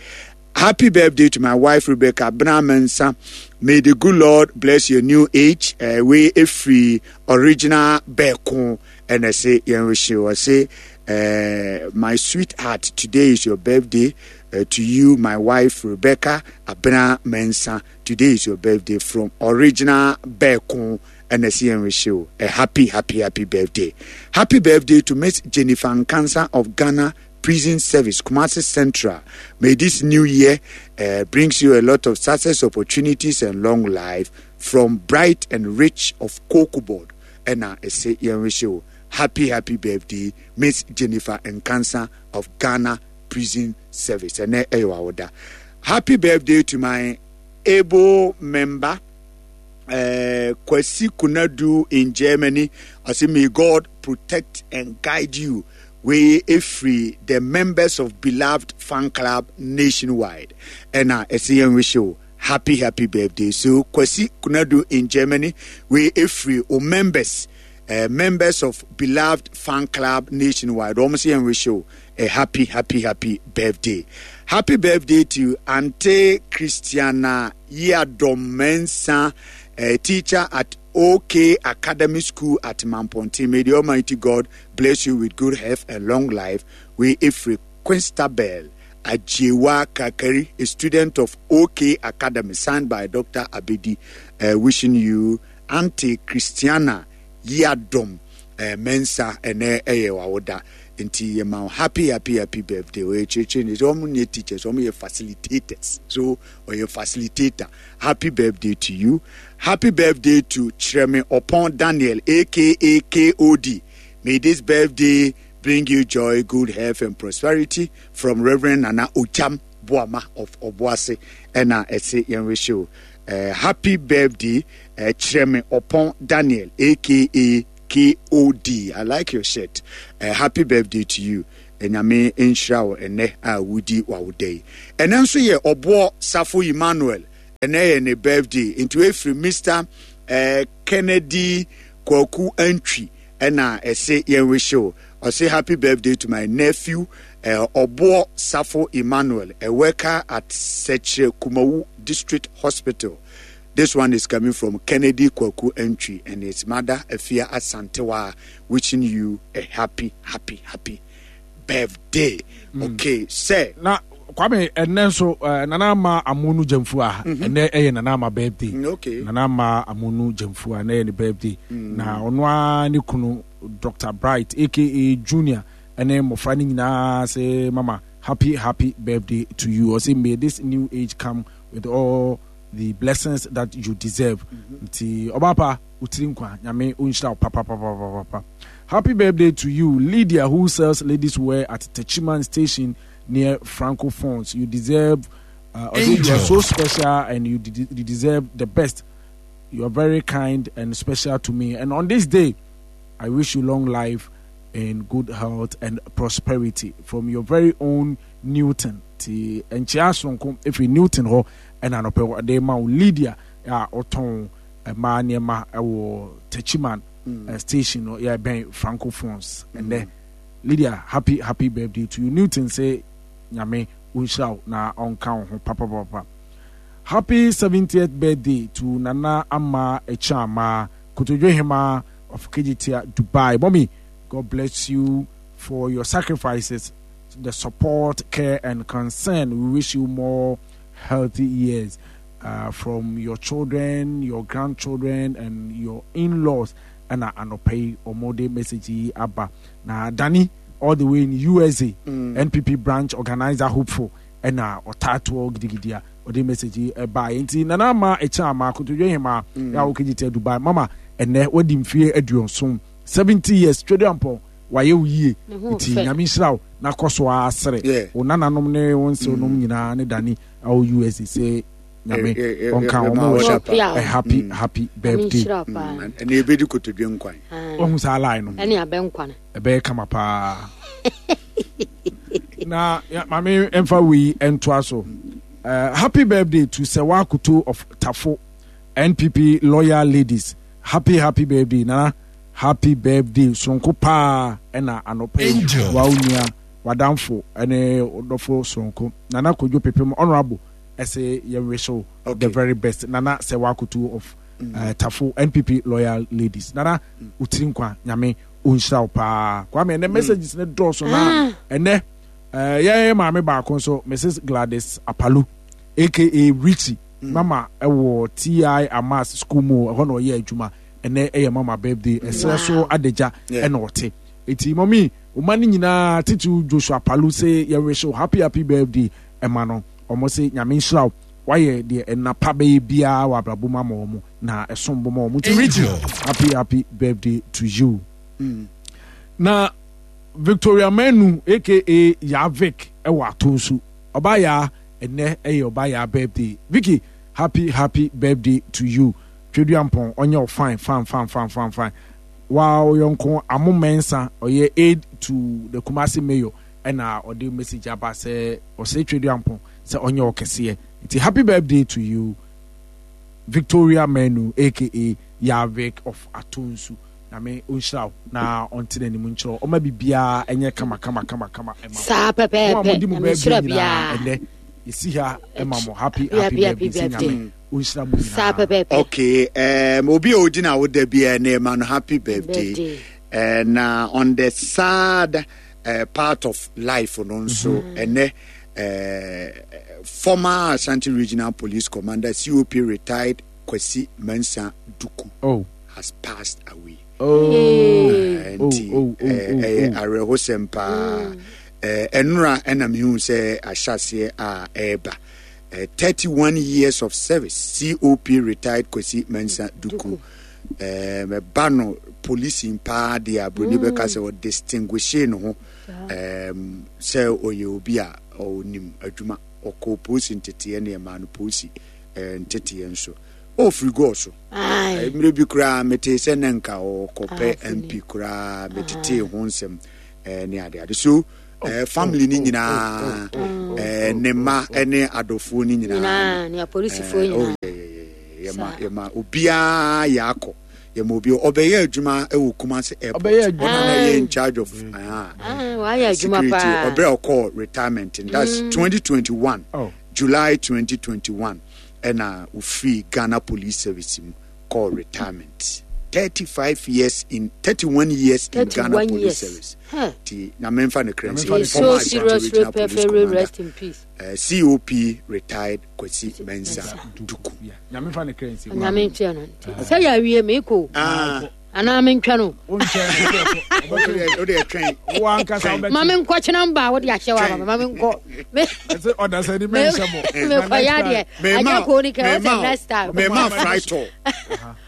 Speaker 3: Happy birthday to my wife, Rebecca Bramensa. May the good Lord bless your new age. Uh, we free original Beko and I say, I say, uh, my sweetheart, today is your birthday. Uh, to you, my wife Rebecca Abena Mensa. Today is your birthday from original Beko and I say, wish you a happy, happy, happy birthday. Happy birthday to Miss Jennifer Nkansa of Ghana Prison Service, Kumasi Central. May this new year uh, brings you a lot of success, opportunities, and long life from Bright and Rich of Cocoa Board. And I say, happy, happy birthday, Miss Jennifer Nkansa of Ghana Prison Service. And happy birthday to my able member, uh, Kwesi Kunadu in Germany. I say, may God protect and guide you. We free the members of Beloved Fan Club nationwide. And I say, wish you happy, happy birthday. So, Kwesi Kunadu in Germany, we free all members, uh, members of Beloved Fan Club nationwide. Almost and wish you a happy, happy, happy birthday. Happy birthday to Ante Christiana Yiadomensa, a teacher at OK Academy School at Mamponti. May the Almighty God bless you with good health and long life. We Ifri Quinstabel Ajewa Kakari, a student of OK Academy, signed by Doctor Abedi, uh, wishing you, Auntie Christiana Yiadom uh, Mensa, ɛnɛ ɛyɛ wawoda, nti yɛma wo happy, happy, happy birthday. Ɔyɛ kyerɛkyerɛ ni sɛ ɔmo nyɛ teachers, ɔmo yɛ facilitators, so ɔyɛ facilitator. Happy birthday to you. Happy birthday to Kyerɛme Ɔpɔn Daniel, A K A K O D. May this birthday bring you joy, good health and prosperity from Reverend Nana Ojam Boama of Obuasi. Ɛna ɛsɛ yɛn wish you Uh, happy birthday, uh, Kyerɛme Opon Daniel, aka K O D. I like your shirt. Uh, happy birthday to you. Nyame nhyira wo ɛnɛ a wodi w'awoda yi. Ɛnɛ nso yɛ Ɔboɔ Safo Emmanuel, ɛnɛ yɛ ne birthday, nti efiri Mister Uh, Kennedy Kwaku Antwi ɛna ɛse yɛn wish wo. Ɔse, "Happy birthday to my nephew, uh, Ɔboɔ Safo Emmanuel, a worker at Sekyere Kumawu District Hospital." This one is coming from Kennedy Kwaku Antwi and his mother, Afia Asantewa, wishing you a happy, happy, happy birthday. Mm. Okay, sir.
Speaker 4: Na Kwame, ɛnɛ nso uh, Nana Ama Amonu Gyamfu a mm-hmm. ɛnɛ ɛyɛ Nana Ama birthday.
Speaker 3: Mm, okay.
Speaker 4: Nana Ama Amonu Gyamfu a ɛnɛ yɛ ne birthday. Mm. Na ɔno ara ne kunu Doctor Bright A K A Junior ɛne mmɔfra no nyinaa sɛ, "Mama, happy, happy birthday to you." Ɔsɛ, "May this new age come with all the blessings that you deserve." Nti ɔbaapa wotiri nkwa, Nyame ɔnhyira wo papapapapapa. Happy birthday to you, Lydia, who sells ladies wear at Techiman Station near Francophones. You deserve uh, you are so special and you, de- you deserve the best. You are very kind and special to me, and on this day I wish you long life in good health and prosperity from your very own Newton. Ti nkyea soronko efiri Newton hɔ ɛna anɔpɛ ɔde ma wo, Lydia a ɔtɔn mmaa nneɛma ɛwɔ Techiman mm. station no yɛ bɛn Francophones. Ɛnɛ mm. Lydia, happy, happy birthday to you. Newton sɛ Nyame ɔnhyira wo na ɔnka wo ho papapapa. Happy seventieth birthday to Nana Ama Ekyama Kotodwe Hema of Kejetia, Dubai. Mommy, God bless you for your sacrifices, the support, care and concern. We wish you more healthy years uh, from your children, your grandchildren and your in-laws. Ɛna anɔpa yi ɔmode message yi aba. Na Danny all the way in U S A, mm. N P P branch organizer hopeful, ɛna ɔtaatoɔ gidigidi a ɔde message yi ɛbaeɛ. Nti Nana Ama ɛkyɛn ama Akotodwe Hema mm. yɛ a wɔkɛgye Dubai, mama, ɛnɛ wadi mfie aduɔson, seventy years. Twɛduampɔn wayɛ wo yie, nti Nyame nhyira wo na kɔ so asere wo nananom ne wo nsew nom nyinaa ne Dani awɔ U S A sɛ Nyame ɔnka wɔn wɔ a happy mm. happy birthday.
Speaker 3: Ɛna ebedi kotodwe nkwan.
Speaker 4: Wɔn saa line no.
Speaker 5: Ɛne abɛnkwan.
Speaker 4: Ɛbɛyɛ kama paa. Na maame mfa wei ntoa so. uh, happy birthday to Sewa Kuto of Tafo, N P P loyal ladies. Happy, happy birthday, Nana. Happy birthday soronko paa. Ɛna anɔpɛ yi wa onua, wadamfo ɛne ɔdɔfo soronko Nana Kodwo Pepem Honourable ɛsɛ yɛn wish you the very best. Nana Sewa Kuto of mm. uh, Tafo, N P P loyal ladies. Nana, wotiri nkwa, Nyame ɔnhyira wo paa. Kwame, ɛnɛ messages ne dɔɔso na ɛnɛ yɛn maame baako nso, Missus Gladys Apalu A K A Richie, mm. mama ɛwɔ T I Amas school mu ɛhɔ na ɔyɛ adwuma. Ɛnɛ ɛyɛ mama birthday. Ɛsrɛ so adagya ɛna ɔte eti mɔmi ɔma no nyinaa titi Joshua Apalu sɛ yɛn wish happy, happy birthday ɛma no. Ɔmo sɛ Nyame nhyira wo, wayɛ deɛ ɛnapa bɛyɛ biara wɔ abrabɔ mu ama wɔn na ɛsom bɔ ma wɔn. Nti Richie, happy, happy birthday to you. mm. Na Victoria Manu A K A Yavik ɛwɔ ato nso ɔba yaa, ɛnɛ ɛyɛ ɔba yaa birthday. Vicky, happy, happy birthday to you. Tweduampɔn ɔnyɛ o fine, fine, fine, fine, fine, fine. Waa ɔyɔnko Amo Mɛnsa, ɔyɛ aide to the Kumasi mayor, ɛna ɔde message aba sɛ ɔsɛ Tweduampɔn sɛ ɔnyɛ ɔkɛseɛ. Nti happy birthday to you, Victoria Manu A K A Yavik of Atonsu. Nyame ɔnhyira wo na ɔnte n'anim nkyerɛ ɔma biribiara ɛnyɛ kama kama kama kama ɛma
Speaker 5: Saa pɛpɛɛpɛ.
Speaker 4: Mo a modi mo birthday nyinaa, ɛnɛ yɛsi ha ɛma mo happy, happy birthday sɛ Nyame ɔnhyira mo
Speaker 5: Saa
Speaker 4: nyinaa.
Speaker 5: pɛpɛɛpɛ.
Speaker 3: Okay, um, obi a odi na woda bi ne ma no happy birthday.
Speaker 5: Birthday.
Speaker 3: uh, na on the sad uh, part of life no nso, ɛnɛ uh, former Ashanti Regional Police Commander, C O P retired Kwasi Mensah Duku
Speaker 4: oh
Speaker 3: has passed away.
Speaker 4: Oh.
Speaker 3: Uh, nti
Speaker 4: oh, oh, oh,
Speaker 3: ɛyɛ
Speaker 4: oh.
Speaker 3: awerɛhosɛm paa. Ɛnora ɛna mehu sɛ ahyɛaseɛ a ɛreba. Uh, thirty-one years of service, C O P retired Kwasi Mensah Duku. Ɛba no policing paa deɛ, aburoni bɛka sɛ ɔdistinguish ne ho um, sɛ ɔyɛ obi a ɔnim adwuma. Ɔkɔ polisi nteteɛ ne ɛmaa no polisi Nteteɛ nso ɔfiri gɔɔ so mmerɛ bi koraa mete sɛ ne nka ɔkɔpɛ M P koraa metetee ho nsɛm ne adeade so family ni nyinaa ne mma ne adɔfoɔ ni nyinaa
Speaker 5: ne apolisifoɔ nyinaa
Speaker 3: yɛma yɛma obiara yɛ akɔ yɛma obi ɔbɛyɛ adwuma ɛwɔ Kumasi airport ɔno na yɛ in charge of security ɔbrɛ ɔkɔ retirement that's twenty twenty-one July twenty twenty-one and uh, free Ghana Police Service called retirement. thirty-five years in thirty-one years in Ghana Police years. Service.
Speaker 5: Huh.
Speaker 3: Ti na memfa ne krensi.
Speaker 5: So serious, rest in peace.
Speaker 3: Uh, C O P retired Kwesi Mensah Duku.
Speaker 4: Yeah. Na memfa ne krensi.
Speaker 5: Na memfa no. Say ya wie me ko.
Speaker 3: Ah.
Speaker 5: Ana mentwa no.
Speaker 4: O
Speaker 3: de train.
Speaker 5: Ma me nkɔ kyena mba wo de ahye wa ma me nkɔ.
Speaker 4: Me say order say ni me nhyɛ mo.
Speaker 5: Me kɔ ya de. Aja ko ni ka o next time.
Speaker 3: Me ma fry to.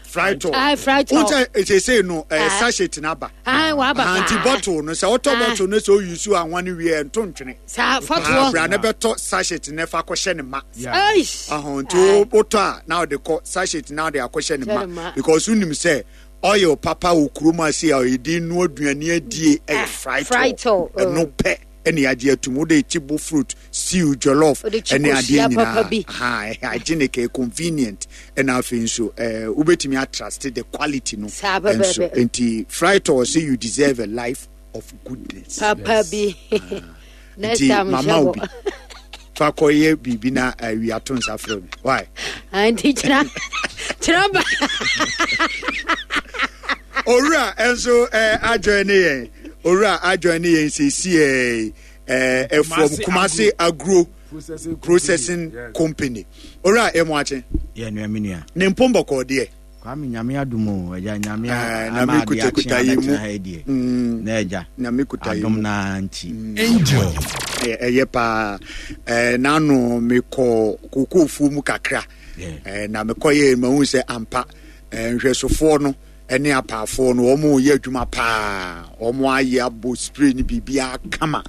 Speaker 3: Fry to.
Speaker 5: Ah, fry to.
Speaker 3: Unche e say no sachet na ba.
Speaker 5: Ah, wa ba.
Speaker 3: Anti bottle no say auto bottle no so use anwa ne wie nto ntwene.
Speaker 5: Sa foto.
Speaker 3: Bra na beto sachet ne fa kɔ hye ne ma.
Speaker 5: Eish.
Speaker 3: Ah, nti wo to a na de kɔ sachet na de akɔ hye ne ma because unim say oil papa okuroma say e no aduane adie e fry to. No pe any idea to mo de chibo fruit stew jollof any idea nyina ha hygienic convenient and afin so eh ubetimi trust the quality no and so enti fry to say you deserve a life of goodness
Speaker 5: papa bi next time
Speaker 3: mama obi fa koye bibi na wi ato nsa frɛ me why
Speaker 5: anti chira chira ba
Speaker 3: Owura enso eh ajoin ne yen Owura ajoin ne yen sesi eh eh from Kumasi Agro Processing, Processing yes. Company. Owura emo ache
Speaker 6: ye nua me nua
Speaker 3: ne mpombo ko de
Speaker 6: Kwame nyame adumo eja nyame
Speaker 3: ama na me kuta yi mu
Speaker 6: na eja
Speaker 3: na me kuta yi
Speaker 6: adom na nti
Speaker 3: angel eh ye pa eh nanu me ko kokofu mu kakra eh na me koye ma hu se ampa eh nhwesofo no ene apafo no omo ye adwuma pa omo aye abo spray ni bibia kama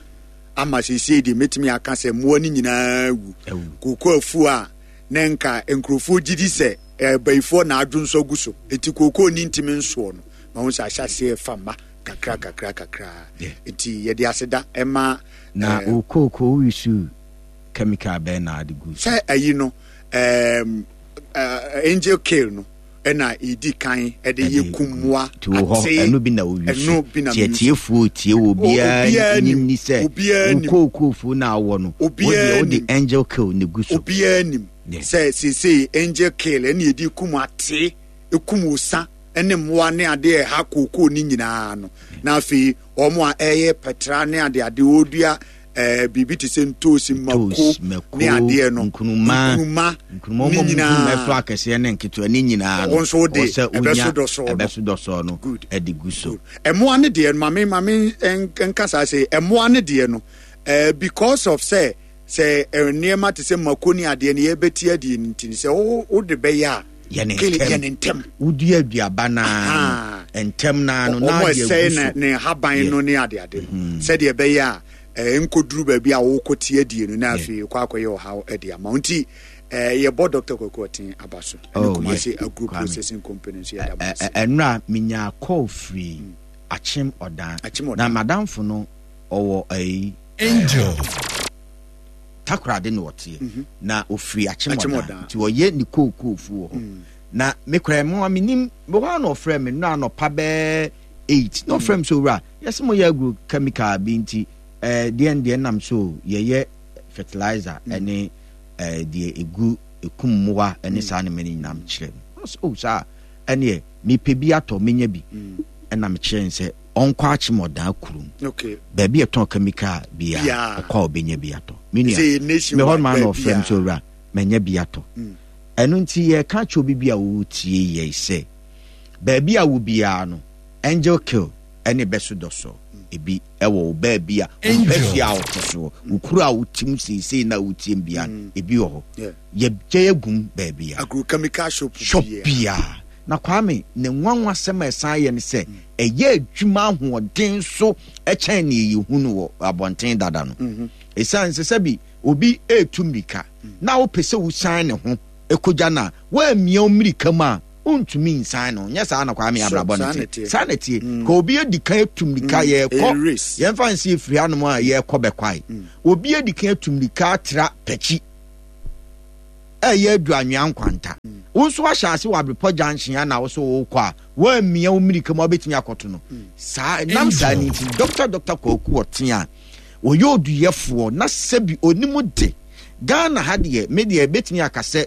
Speaker 3: ama sese de metimi aka se mo ani nyina wu koko afu a nenka enkrofo gidi se e bayifo na adwonso guso eti koko ni ntimi nso no ma hu se ahyase fama kakra kakra kakra eti ye de aseda ema
Speaker 6: na okoko wisu chemical be na ade gu
Speaker 3: se ayi no em angel kill no ena idi kan e de yekumwa
Speaker 6: ate eno bi na owisu tie tiefuo tie obi nim ni se okokofu na awo no wo de angel kill ne gu so
Speaker 3: obi anim se se se angel kill ena idi kum ate ekum osa ene mmoa ne ade ha koko ni nyina no na afi omo a eye petra ne ade ade odua eh bibi te se ntosi mako ne ade no
Speaker 6: nkunuma
Speaker 3: nkunuma
Speaker 6: nkunuma mo nkunuma so akese ne nketewa ne nyina no
Speaker 3: won so de ebeso doso
Speaker 6: ebeso doso no e de gu so
Speaker 3: emoa ne de no mame mame nkasa se emoa ne de no eh because of say say niema te se mako ne ade ne ye beti ade nti se wo de be ya
Speaker 6: ye ne
Speaker 3: ntem
Speaker 6: wodua aduaba na ntem na no na
Speaker 3: de gu so ne haban no ne ade ade se de be ya eh nkoduru ba bi a wo kotie adie no na afi kwa akoye ohaw ade ama nti eh ye bo Doctor Kwaku Otin abaso ne Kumasi Agro Processing Company so ye da mo
Speaker 6: enra minya call free Achim Odan na madam fo no owo ai
Speaker 7: angel
Speaker 6: takrade no otie na ofri Achim Odan nti oye ne kokofu wo na me kra mo aminim me ho na ofre me no anopa be eight no frem so ra yes mo ye agro chemical bi nti eh den den nam so ye ye fertilizer ene eh de egu ekummoa ene saa ne mani nam kire oh saa ene me pe bi ato menya bi ena me kire nse onkwa Achim Odan kurum
Speaker 3: okay
Speaker 6: ba bi eton chemical bi a okwa obenya bi ato me nua me hon man of frem so ra menya bi ato eno nti ye ka cho bi bi a wo tie ye se ba bi a wo bia no angel kill ene beso doso ebi ewo ba bia mpesi a wotoso wokuru a wotim sesei na wotim bia ebi wo ho ye gye agum ba bia
Speaker 3: agrochemical shop
Speaker 6: bia na Kwame ne nwanwa sema esan ye ne se eye adwuma ahoɔden so ekyɛn ne yehu no wɔ abɔnten dada no esan se sɛ bi obi etu mrika na wo pese wo san ne ho Ɛkɔgya no a, woammia wo mmirika mu a, wontumi nsan no. Nyɛ saa na Kwame abrabɔ no te. Saa na ɛteɛ. Ka obi adi kan atu mmirika, yɛrekɔ, yɛmfa nsi efiri hanom a yɛrekɔ bɛkwae. Obi adi kan atu mmirika atra pɛkyi ɛyɛ adu anwea nkwanta. Wo nso ahyɛ ase wɔ Abrepɔ junction a na wo so wokɔ a, woammia wo mmirika mu a wobɛtumi akɔto no. Saa nam saa no nti, Dɔkta Dɔkta Kwaku Ɔtea a ɔyɛ oduyɛfoɔ na sɛbi onim de, Ghana ha deɛ, me deɛ bɛtumi aka sɛ,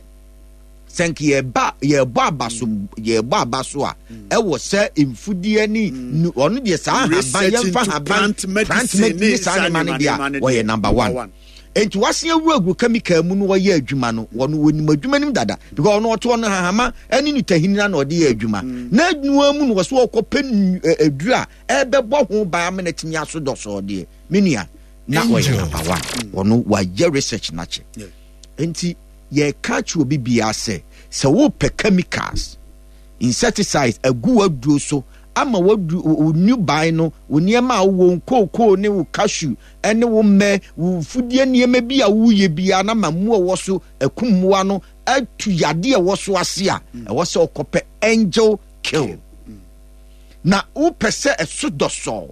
Speaker 6: sɛ nka yɛba yɛbɔ aba so yɛbɔ aba so a ɛwɔ sɛ mfudeɛ ne mm. ɔno deɛ saa haban yɛmfa haban plant medicine ne saa nneɛma no deɛ a ɔyɛ number one nti wasen awura agu chemical mu no wɔyɛ adwuma no wɔn wɔnim adwuma nim dada because ɔno ɔte ɔno hahama ɛne ne tahini na ɔde yɛ adwuma mm. na adwuma mu no wɔso ɔkɔpɛ aduru a ɛbɛbɔ ho ban ama no atumi aso dɔsɔɔ deɛ me nua na ɔyɛ number one mm. ɔno wayɛ research n'akyɛ nti yɛreka akyerɛ obi biara sɛ, sɛ wopɛ chemicals, insecticides agu w'aduro so ama w'aduro, wo nnubaa no, wo nneɛma a wowɔ, wo kookoo ne wo cashew ne wo mmɛ, wo mfudeɛ nneɛma bi a woyɛ biara na ma mmoa ɛwɔ so akum mmoa no atu yadeɛ ɛwɔ so ase a, ɛwɔ sɛ wokɔpɛ angel kill. Na wopɛ sɛ ɛso dɔsɔɔ,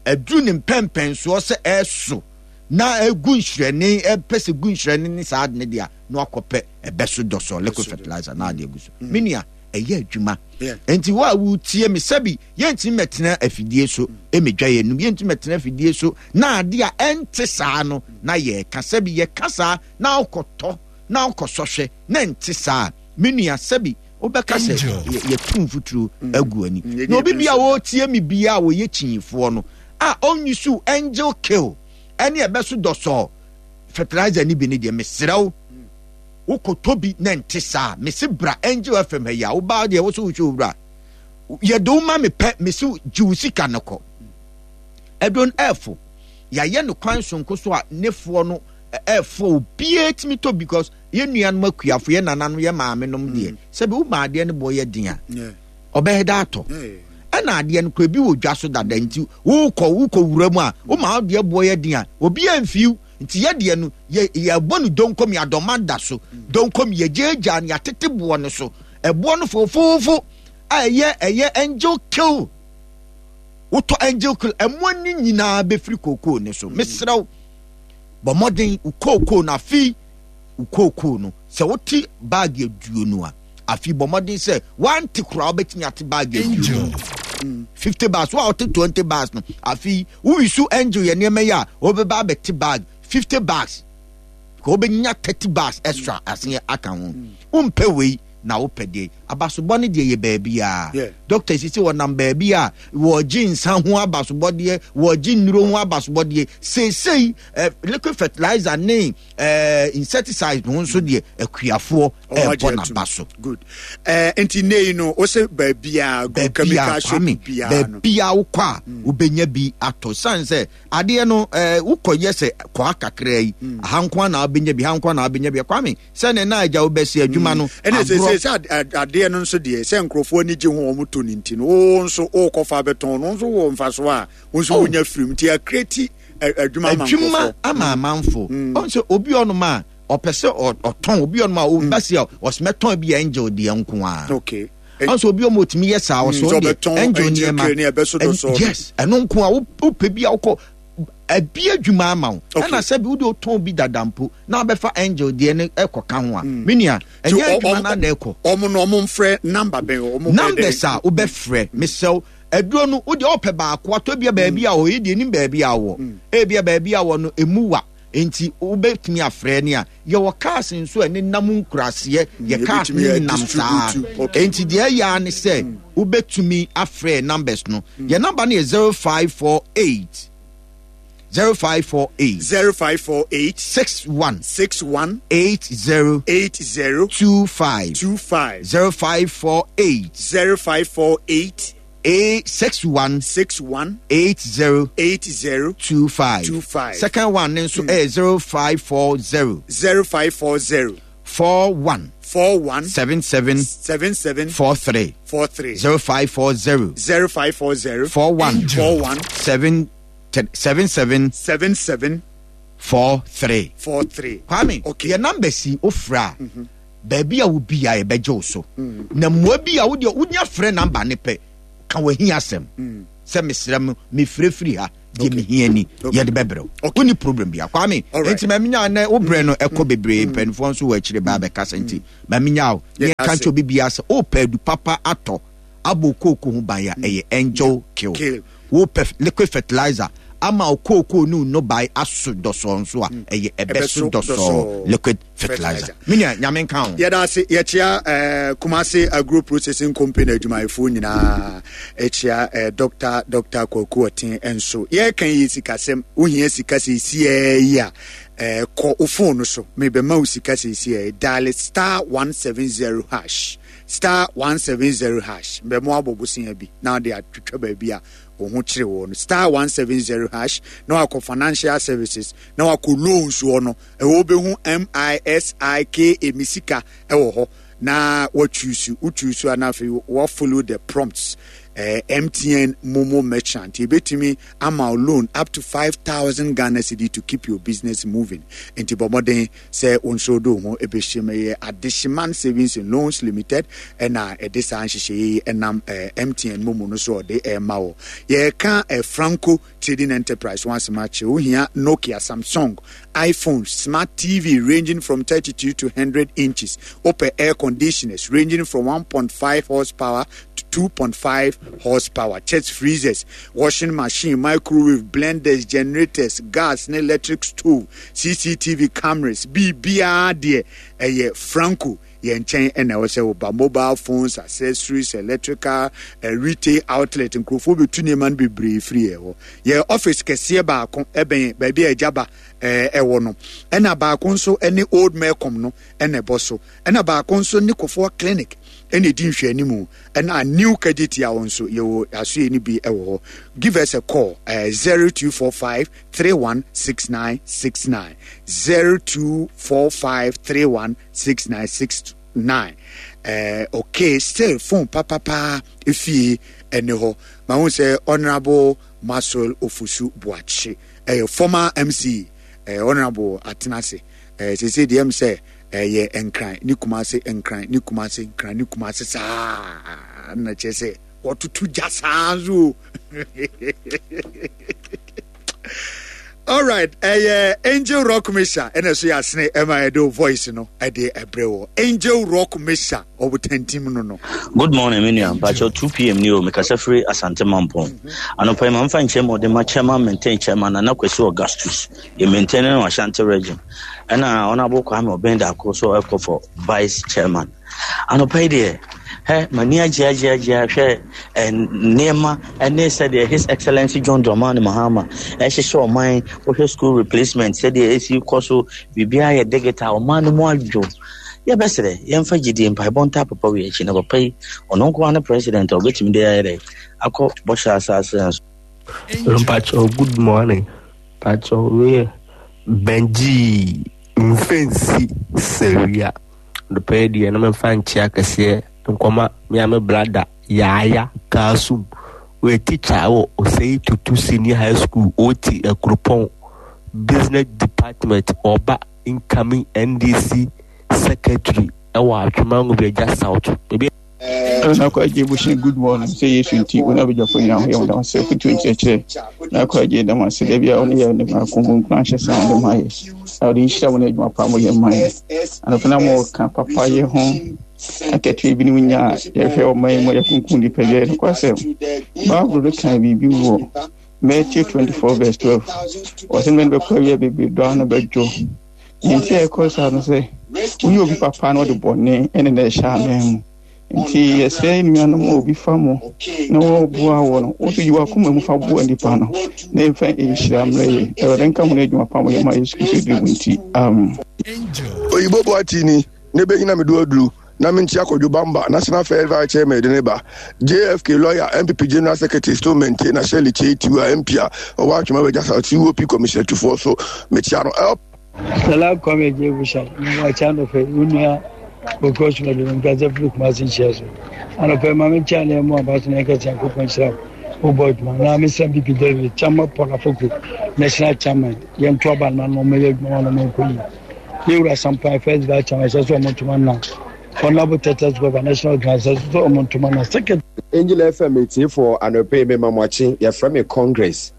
Speaker 6: aduru ne mpɛmpɛnsoɔ sɛ ɛso na egu nhyerɛne, ɛpɛ sɛ gu nhyerɛne ne saa ade no deɛ a, na wakɔpɛ ɛbɛ so dɔsɔ liquid fertilizer na ade agu so. Mm. Me nua, ɛyɛ adwuma. Nti wo a wotie me sɛbi yɛntumi mɛtena afidie so ɛmɛdwa yɛn num, yɛntumi mɛtena afidie so na ade a ɛnte saa no na yɛka sɛbi yɛka saa na wokɔtɔ na wokɔsɔhwɛ na ɛnte saa. Me nua sɛbi wobɛka sɛ yɛtu mfuturo mm. agu ani. Mm. Na obi bi a wɔretie me bi a wɔyɛ kyinyifoɔ no a ɔnyi so angel kill ɛne ɛbɛso dɔsɔɔ fertilizer no bi no deɛ mesrɛ wo wokɔtɔ bi na nte saa mese bra Angel F M ha yi a wobaa deɛ wo so wohwɛ owura yɛde wo ma me pɛ mese gye wo sika no kɔ ɛdon ɛfo yɛayɛ no kwan sonko so a ne foɔ no ɛfo obiara tumi tɔ because yɛn nuanom akuafo yɛn nananom yɛn maamenom deɛ mm. sɛbi wo maa adeɛ no bɔ yɛ den a ɔbɛyɛ dɛ atɔ ɛna adeɛ no kora bi wɔ dwa so dada nti wokɔ wokɔ wura mu a woma adeɛ boɔ yɛ den a obi amfiw nti yɛ deɛ no yɛ yɛbɔ no donkom yɛ adɔma da so donkom yɛgyaagyaa no yɛatete boɔ no so ɛboɔ no fofoofo a ɛyɛ ɛyɛ angel kill wotɔ angel kill ɛmoa no nyinaa bɛfiri kookoo no so mesrɛ wo bɔ mmɔden wo kookoo no afei wo kookoo no sɛ wote baage aduonu a afei bɔ mmɔden sɛ wante koraa wobɛtumi ate bag aduonu fifty bags wo a wote twenty bags no afei woyi so angel yɛ nneɛma yi a wobɛba abɛte bag fifty bags ka wobɛnya thirty bags extra aseɛ aka ho wompɛ wei na wopɛ deɛ abasobɔ no deɛ yɛ baabiaa doctor sisi wɔnam baabi a wɔgye nsa ho abasobɔdeɛ wɔgye nnuro ho abasobɔdeɛ seesei eh, liquid fertilizer ne eh, insecticide ho nso deɛ akuafoɔ ɛbɔ n'aba so.
Speaker 3: Good. Eh, nti nne yi no wosɛ baabiaa go chemical shop biaa no
Speaker 6: baabiaa wokɔ a mm. wobɛnya bi atɔ sane sɛ adeɛ no eh, wokɔyɛ sɛ kɔa kakraa yi mm. aha nko a na wobɛnya bi ha nko a na wobɛnya bi Kwame sɛ ne na agya wobɛsi adwuma no mm.
Speaker 3: ɛne sɛ sɛ sɛ adeɛ no nso deɛ sɛ nkurɔfoɔ ani gye ho wɔn tɔ no nti no wo nso wokɔfa bɛtɔn no nso wɔ mfasoɔ a wo nso oh. wonya firim nti akreti adwuma ama
Speaker 6: adwuma ama amanfo ɔn sɛ obi ɔnom a ɔpɛ sɛ ɔtɔn obi ɔnom a ɔba si a ɔsmɛtɔn bi angel deɛ nko a ɔn sɛ obi ɔmo otumi yɛ saa ɔsɔ deɛ angel nneɛma yes ɛno nko a wopɛ bi a wokɔ ɛbi adwuma ama wo ɛna sɛ bi wode ɔtɔn bi dada mpo na wabɛfa angel deɛ no ɛkɔ ka ho a mm. me nua ɛnyɛ adwuma no na ɛkɔ
Speaker 3: ɔmo no ɔmo mfrɛ number bɛn ɔmo
Speaker 6: numbers a wobɛfrɛ mesɛw aduro no wode ɔpɛ baako atɔ bia baabi a ɔyɛ deɛ nim baabi a wɔ ebia baabi a wɔ no emu wa nti wobɛtumi afrɛ ne a yɛwɔ cars nso a ɛne nam nkuraseɛ yɛ cars ne nam saa nti deɛ ɛyɛ a ne sɛ wobɛtumi afrɛ numbers no yɛ number no yɛ zero five four eight zero five four eight
Speaker 3: zero five four eight
Speaker 6: six one
Speaker 3: six one
Speaker 6: eight zero
Speaker 3: eight zero
Speaker 6: two five
Speaker 3: two five
Speaker 6: zero five four eight
Speaker 3: zero five four eight
Speaker 6: eight six one
Speaker 3: six one
Speaker 6: eight zero
Speaker 3: eight zero
Speaker 6: two five
Speaker 3: two five.
Speaker 6: Second one nso mm. zero five four zero
Speaker 3: zero five four zero
Speaker 6: four one
Speaker 3: four one
Speaker 6: seven seven
Speaker 3: seven seven
Speaker 6: four three
Speaker 3: four three
Speaker 6: zero five four zero
Speaker 3: zero five four zero
Speaker 6: four one
Speaker 3: four one
Speaker 6: seven seven seven
Speaker 3: seven seven
Speaker 6: four three
Speaker 3: four three.
Speaker 6: Kwame,
Speaker 3: okay.
Speaker 6: Your number si ofra. Baabi a wo bi a yɛbɛgye wo so. Na mmoa bi a wo deɛ wonya frɛ namba ne pɛ ka w'ahi asɛm. Sɛ mesrɛ mo mefirefiri ha deɛ mehia ni yɛde bɛbrɛ wo. Wonni problem bia Kwame. Enti ma menya nɛ wo brɛ no ɛkɔ bebree mpanimfoɔ nso wɔ akyire baa bɛkasa nti ma menya wo. Ne yɛka nkyɛ obi biara sɛ wopɛ adu papa atɔ abɔ kooko ho ban a ɛyɛ Angel Kill. Wopɛ liquid fertilizer ama wo kooko ne wo nnɔbae aso dɔsɔɔ nso a ɛyɛ ɛbɛso dɔsɔɔ liquid fertilizer. Me nua Nyame nka ho.
Speaker 3: Yɛda ase. Yɛkyea eh, Kumasi Agro Processing Company adwumayɛfoɔ nyinaa. Ɛkyea eh, Doctor Doctor Kwaku Ɔten nso. Yɛreka yi sikasɛm. Wohia sika seesiaa yi a, eh, kɔ wo phone no so. Mebɛma wo sika seesiaa yi. Dial star one seven zero hash. Star one seven zero hash. Mbɛmo abɔ bosea bi na wode atwitwa baabi a wo ho kyere wɔ no. Star one seven zero hash na wakɔ financial services na wakɔ loans hɔ no. Ɛhɔ wobɛhu M I S I K A, me sika ɛwɔ hɔ na wachuusu. Wochuusu a na afei wa follow the prompts. Eh, M T N Momo merchant yɛbɛtumi ama wo loan up to five thousand Ghana cedi to keep your business moving. Nti bɔ mmɔden sɛ wo nso wode wo ho ɛbɛhyɛ mu. Ɛyɛ Adehyeman Savings and Loans Limited ɛna ɛde saa nhyehyɛeɛ yi ɛnam, eh, M T N Momo no so ɔde ɛma wo. Yɛreka, eh, Franco Trading Enterprise ho asɛm akyerɛ. Wohia Nokia, Samsung, iPhone, smart T V ranging from thirty-two to hundred inches, wopɛ air conditioners ranging from one point five horsepower to two point five horsepower, chest freezers, washing machine, microwave, blenders, generators, gas ne electric stove, C C T V cameras, biribiara deɛ ɛyɛ Franco yɛn nkyɛn ɛna ɛwɔ sɛ woba. Mobile phones, accessories, electrical, eh, retail outlet, nkurɔfoɔ bɛtu nneɛma no bebree firi yɛn hɔ. Yɛn office kɛseɛ baako ɛbɛn baabi a agyaba, eh, ɛwɔ no, ɛna baako nso ɛne Old Melcom no ɛna ɛbɔ so, ɛna baako nso ne Kofoɔ Clinic ɛna ɛdi nhwɛanimu, ɛna New Kejetia hɔ nso yɛwɔ asoɛ no bi ɛwɔ hɔ. Give us a call, eh, zero two four five three one six nine six nine, zero two four five three one six nine six nine. Eh, okay, still phone papa efie ɛne hɔ. Ma hu sɛ Honorable Maxwell Ofosu Boakye, eh, former M C, eh, Honorable Atenase, eh, sese deɛ m sɛ, eh, yɛ nkran ne Kumase, nkran ne Kumase, nkran ne Kumase saa na kyerɛ sɛ wɔtoto gya saa nso. All right, eh, Angel Rock Misha, and so ya sene Emma Edo voice no, Ede Ebreo. Angel Rock Misha, Obutentim no no.
Speaker 7: Good morning, Minia. Bacho two P M ni o, Mikasa free Asante Mampong. Anopa man fan chemo de ma chairman maintain chairman na Kwesi Augustus. Ye maintain no Ashanti region. And na honorable Kwame Obenda so for for vice chairman. Anopa de he mania jia jia jia hwe nneɛma ɛne sɛdeɛ His Excellency John Dramani Mahama ɛhyehyɛ ɔman wohwɛ school replacement sɛdeɛ esi kɔ so biribiara yɛ digital ɔman no mu adwo. Yɛbɛsrɛ yɛmfa gyidie mpaebɔ nta papa wei akyi na papa yi ɔno nko ara ne president a ɔbɛtumi de ayɛ dɛ akɔ bɔhyɛ asase nso.
Speaker 8: Mpacho, good morning. Mpacho, we Benji Mfensi Seria. The pay deɛ na memfa nkyea kɛseɛ nkɔma me a me brada Yaya Kasum. We teacher wɔ Osei Tutu Senior High School, O T Akuropɔn, Business Department, ɔba incoming N D C Secretary ɛwɔ Atwema Nwabiagya South. Ebi
Speaker 9: Na kwa gye bushin good morning say Yesu nti wo na bɛgyafo nyina ho yɛ wo dam sɛ fotu nkyerɛkyerɛ na kwa gye dam ase da bia wo ne yɛ ne ma ko mu nkura nhyɛ sɛ wo de ma yɛ na wode nhyira wo ne adwuma pa mo yɛ ma yɛ anɔpɛ na mo ka papa yɛ ho akatua bi ne wo nya a yɛhwɛ ɔman yi mu yɛkunkum nipa bi yɛ nokwasɛm Bible no ka biribi wɔ Matthew twenty-four verse twelve ɔsɛ mmɛ no bɛkɔ awia bebree dɔ ano bɛdwo nti a ɛkɔ saa no sɛ woyɛ obi papa na ɔde bɔne ɛne na ɛhyɛ anan mu nti yɛsrɛ nnuanom a obi fa mo na wɔboa wɔ no wo nso yi w'akoma mu fa boa nnipa no na ɛmfa nhyira mmerɛ yɛ Awurade nka ho no adwuma pa mo yɛ ma Yesu Kristo din mu nti amen.
Speaker 10: Oyibo boati ni ne bɛnyina me do aduru na menkyia Kwadwo Bamba National First Vice Chairman de ne ba J F K lawyer M P P General Secretary still maintain na Shirley Kyei Tiwa M P a ɔwɔ Atwema Wagya South C O P Commissioner Tufoɔ so mekyia no L
Speaker 11: Salam Kwame Jebusha, Wacha no fe, Unia, Okosh Madu, Nkaza Flu Kumasi Cheso. Ano pe Mame Chane Mo Abaso na Nkaza Nkopon Shira, Obo Juma, na Mister B P David, Chama Paul Afoku, National Chairman, Yen Tuaba na no me Juma na me Koyi. Yɛwura Sampan First Vice Chairman ɛsɛ sɛ ɔmo ntoma na Honorable Titus Glover National Organizer ɛsɛ sɛ ɔmo ntoma na Secretary.
Speaker 12: Angel F M etiefoɔ, anɔpa yi mema mo akye. Yɛfrɛ me Congress.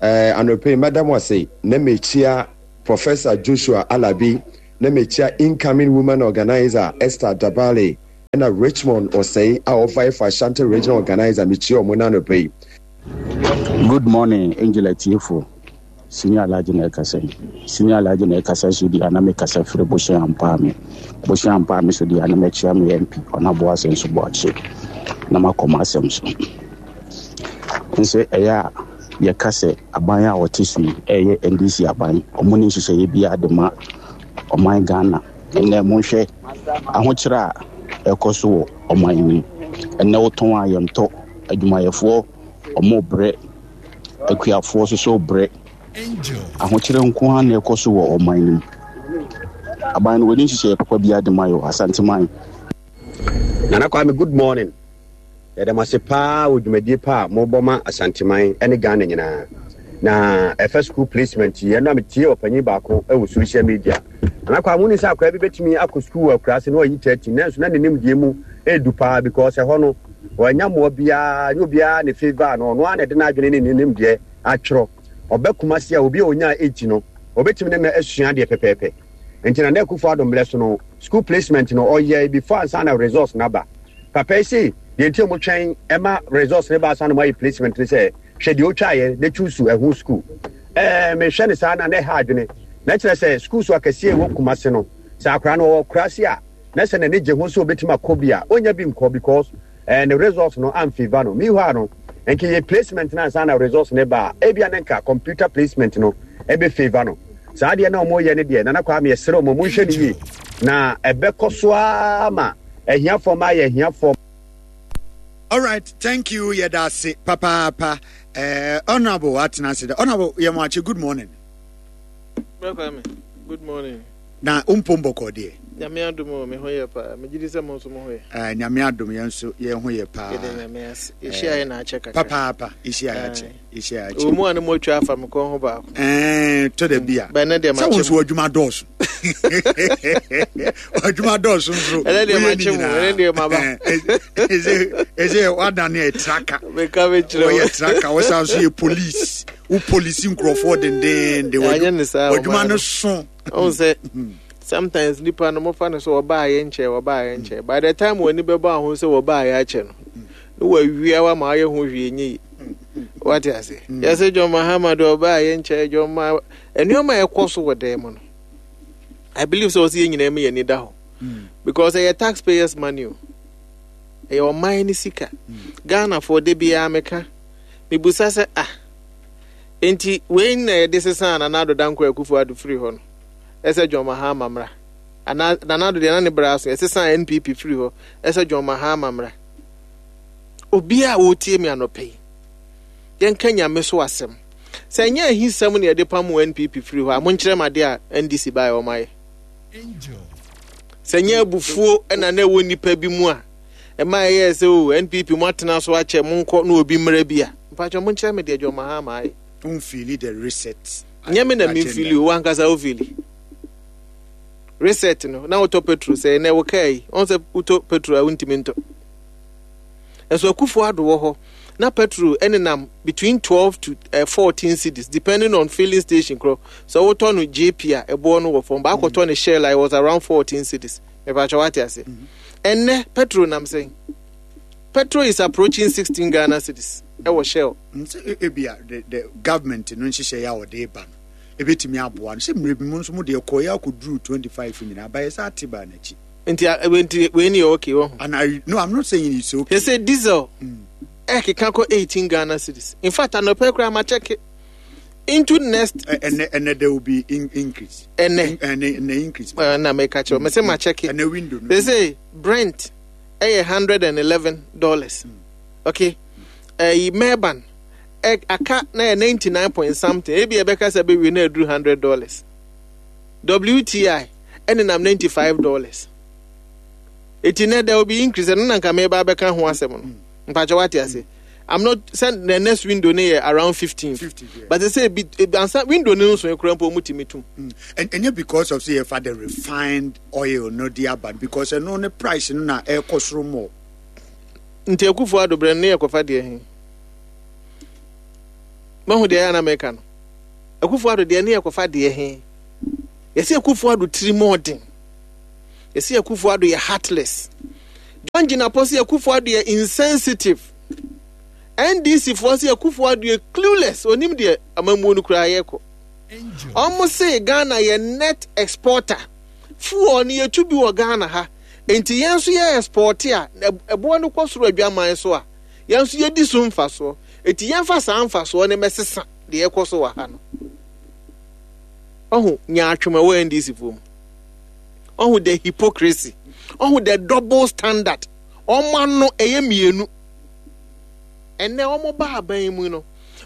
Speaker 12: Eh, anɔpa yi mɛda mo ase na mekyia Professor Joshua Alabi, na mekyia incoming woman organizer Esther Dabale, ɛna Richmond Osei a ɔvae for Ashanti Regional Organizer, mekyia ɔmo na anɔpa yi.
Speaker 13: Good morning, Angel atiefo. Senior Alhaji na ɛkasa yi. Senior Alhaji na ɛkasa so di ana mekasa firi Bohyɛn Ampaame. Bohyɛn Ampaame so di ana mɛkyia me M P ɔnaboa asɛm so boakye na makɔ m'asɛm so. Nso ɛyɛ a yɛka sɛ aban a wɔte so yi ɛyɛ N D C aban, ɔmo ne nhyehyɛeɛ biara de ma ɔman Ghana. Ɛnɛ monhwɛ ahokyerɛ a ɛkɔ so wɔ ɔman yi mu. Ɛnɛ wotɔn a yɛntɔ, adwumayɛfoɔ ɔmo brɛ, akuafoɔ nso so brɛ. Ahokyerɛ nko ara na ɛkɔ so wɔ ɔman no mu. Aban no wɔde nhyehyɛeɛ papa biara de ma yɛ Asanteman.
Speaker 12: Nana Kwame, good morning. Yɛda mo ase paa wɔ dwumadie pa a mobɔ ma Asanteman ne Ghana nyinaa. Na ɛfɛ school placement yi, ɛno a metie ɔpanyin baako wɔ social media. Nana Kwame, woni sɛ akwadaa bi bɛtumi akɔ school wɔ akuraase na ɔyi thirty, nanso na ne nimdeɛ mu edu paa because ɛhɔ no wɔanya mmoa biara, nye obiara ne favour no, ɔno ara na ɛde n'adwene ne ne nimdeɛ atwerɛ. Ɔbɛ Kumasi a, obi a onyaa eight no, ɔbɛtumi ne no asua adeɛ pɛpɛɛpɛ. Nti Nana Akufo Addo mmerɛ so no, school placement no ɔyɛ before ansa na results n'aba. Papa yi se deɛ nti a wɔtwɛn ɛma results ne ba ansa na wɔayɛ placement ne sɛ, hwɛ deɛ otwaeɛ na choose ɛho school. Ɛɛ mehwɛ ne saa na na ɛha adwene. Na kyerɛ sɛ school so akɛseɛ ɛwɔ Kumasi no, sɛ akwaraa no ɔwɔ kurase a, na sɛ n'ani gye ho sɛ obɛtumi akɔ bi a, ɔnya bi nkɔ because ɛɛ ne results no amfavour no. Meanwhile no, nka yɛ placement no ansa na results ne ba a, ebia ne nka computer placement no ɛbɛ favour no. Saa adeɛ na wɔyɛ no deɛ, Nana Kwame, yɛsrɛ wɔn, monhwɛ no yie na ɛbɛkɔ so ara ma ahiafoɔ ma ayɛ ahiafoɔ.
Speaker 3: All right, thank you. Yɛda ase papaapa. Uh, Honorable atena ase dɛ. Honorable yɛmo, good morning.
Speaker 14: Bro Kwame, good morning.
Speaker 3: Na umpom bɔkɔ deɛ?
Speaker 14: Nyame adom o, me ho yɛ paa. Megye di sɛ mo nso mo ho yɛ.
Speaker 3: Uh, Nyame adom, yɛn nso yɛn ho yɛ paa.
Speaker 14: Yɛde Nyame ase. Yɛhyia yɛ na akyɛ kakra.
Speaker 3: Papaapa, yɛhyia yɛ akyɛ. Yɛhyia yɛ akyɛ.
Speaker 14: Ɔmu a ne mo atwa afa me kɔn ho baako.
Speaker 3: Ɛɛ, tɔ da bi a.
Speaker 14: Bɛn deɛ
Speaker 3: ma kyɛ. Sɛ wɔn nso adwuma dɔɔso. Adwuma dɔɔso nso.
Speaker 14: Ɛnɛ deɛ ma kyɛ mu, ɛnɛ deɛ ma ba.
Speaker 3: Ɛsɛ ɛsɛ wadane yɛ tracker.
Speaker 14: Meka me kyerɛ.
Speaker 3: Wɔyɛ tracker, wɔsan so yɛ police. Wo police nkurɔfoɔ dendenden.
Speaker 14: Ɛnyɛ ne saa.
Speaker 3: Wadwuma no so.
Speaker 14: Ɔn sɛ sometimes nipa no mofa no sɛ ɔbaa yɛ nkyɛn, ɔbaa yɛ nkyɛn, by the time wɔn ani bɛbɔ aho sɛ wɔbaa yɛ akyɛ no, ne wɔawia wa ma ayɛ ho hwee nye yi. Wate ase? Yɛsɛ John Mahama de ɔbaa yɛ nkyɛn, John Ma nneɛma a ɛkɔ so wɔ dan mu no, I believe sɛ ɔsɛ yɛn nyinaa mu yɛn ani da hɔ because ɛyɛ taxpayers money o, ɛyɛ ɔman ne sika. Ghanafoɔ de biara meka mebusa sɛ, ah, nti wei na yɛde sesa Nana Addo Dankwa Akufo Addo firi hɔ no, ɛsɛ John Mahama mmra ana? Nana Addo deɛ na ne bra so, yɛsesa N P P firi hɔ, ɛsɛ John Mahama mmra. Obiara a wɔretie me anɔpɛ yi, yɛnka Nyame so asɛm sɛ ɛnyɛ ahisɛm na yɛde pam N P P firi hɔ a, monkyerɛ m adeɛ a N D C baeɛ wɔn ayɛ. Sɛ nyɛ abufuo ɛna na ɛwɔ nnipa bi mu a ɛma ɛyɛ sɛ o N P P mo atena so akyɛ, monkɔ na obi mmra bi a, mpakyɛ monkyerɛ me deɛ John Mahama ayɛ.
Speaker 3: Wonfeeli the reset?
Speaker 14: Nyɛ me na memfeeli o, wankasa wofeeli reset no na wotɔ petrol sɛ ɛnɛ wo kaa yi ɔn sɛ wotɔ petrol a wontumi ntɔ. Ɛnso Akufo Addo wɔ hɔ na petrol ɛnenam between twelve to uh, fourteen cedis depending on filling station korɔ. Sɛ wotɔ no J P a, ɛboɔ no wɔ fam, baakɔtɔ no Shell a, it was around fourteen cedis. Mepakyɛ wate ase? Ɛnɛ petrol nam sɛn? Petrol is approaching sixteen Ghana cedis ɛwɔ Shell.
Speaker 3: Sɛ ebia the the government no nhyehyɛ yɛ a wɔde ba no ebetumi aboa no sɛ mmerɛ bi mu nso mo deɛ kɔɔ yɛ akɔduru twenty five nyinaa bayɛ sɛ ate baa n'akyi.
Speaker 14: Nti nti wei ni yɛ okay wɔ ho?
Speaker 3: And I no, I'm not saying it's okay.
Speaker 14: They say diesel ɛkeka kɔ eighteen Ghana cedis. In fact, anɔpɛ koraa ma check into next.
Speaker 3: Ɛnɛ ɛnɛ there will be in, increase.
Speaker 14: Ɛnɛ
Speaker 3: ɛnɛ ɛnɛ increase.
Speaker 14: Ɛna mɛka kyerɛ mɛ sɛ ma check.
Speaker 3: Ɛnɛ window no.
Speaker 14: They say Brent ɛyɛ hundred and eleven dollars. Okay, ɛyi Murban ɛ aka na yɛ ninety nine point something, ebi ɛbɛka sɛ bɛwie na aduru hundred dollars. W T I ɛnenam ninety five dollars. Eti nɛ there will be increase. Ɛno na nka mɛba abɛka ho asɛm no. Mpakyɛ wate ase? I'm not sɛ the next window ne yɛ around fifteen, but sɛ ebi ansa window ne nso ekura mpo ɔmo tumi tum.
Speaker 3: And ɛnyɛ because of say yɛfa the refined oil no de aba, because ɛno ne price no na ɛkɔ soro mɔ.
Speaker 14: Nti Akufo Addo brɛ no ne yɛ kɔfa deɛ he? Mahu deɛ ɛyɛ na mɛka no. Akufo Addo deɛ ne yɛ kɔfa deɛ he? Yɛsɛ Akufo Addo tiri mu ɔden. Yɛsɛ Akufo Addo yɛ heartless. John Jinapor sɛ Akufo Addo yɛ insensitive. N D C foɔ sɛ Akufo Addo yɛ clueless. Onim deɛ amammuo no koraa yɛkɔ. Ɔmo se Ghana yɛ net exporter. Fuel no yɛtu bi wɔ Ghana ha. Nti yɛn nso yɛ export a, ɛboɔ no kɔ soro adwaman so a, yɛn nso yɛdi so mfasoɔ. Nti yɛmfa saa mfasoɔ no mɛsesa deɛ ɛkɔ so wɔ ha no. Ɔho nyaatwom ɛwɔ N D C foɔ mu. Ɔho the hypocrisy. Ɔho the double standard. Ɔmo ano ɛyɛ mmienu. Ɛnɛ ɔmo ba aban mu no,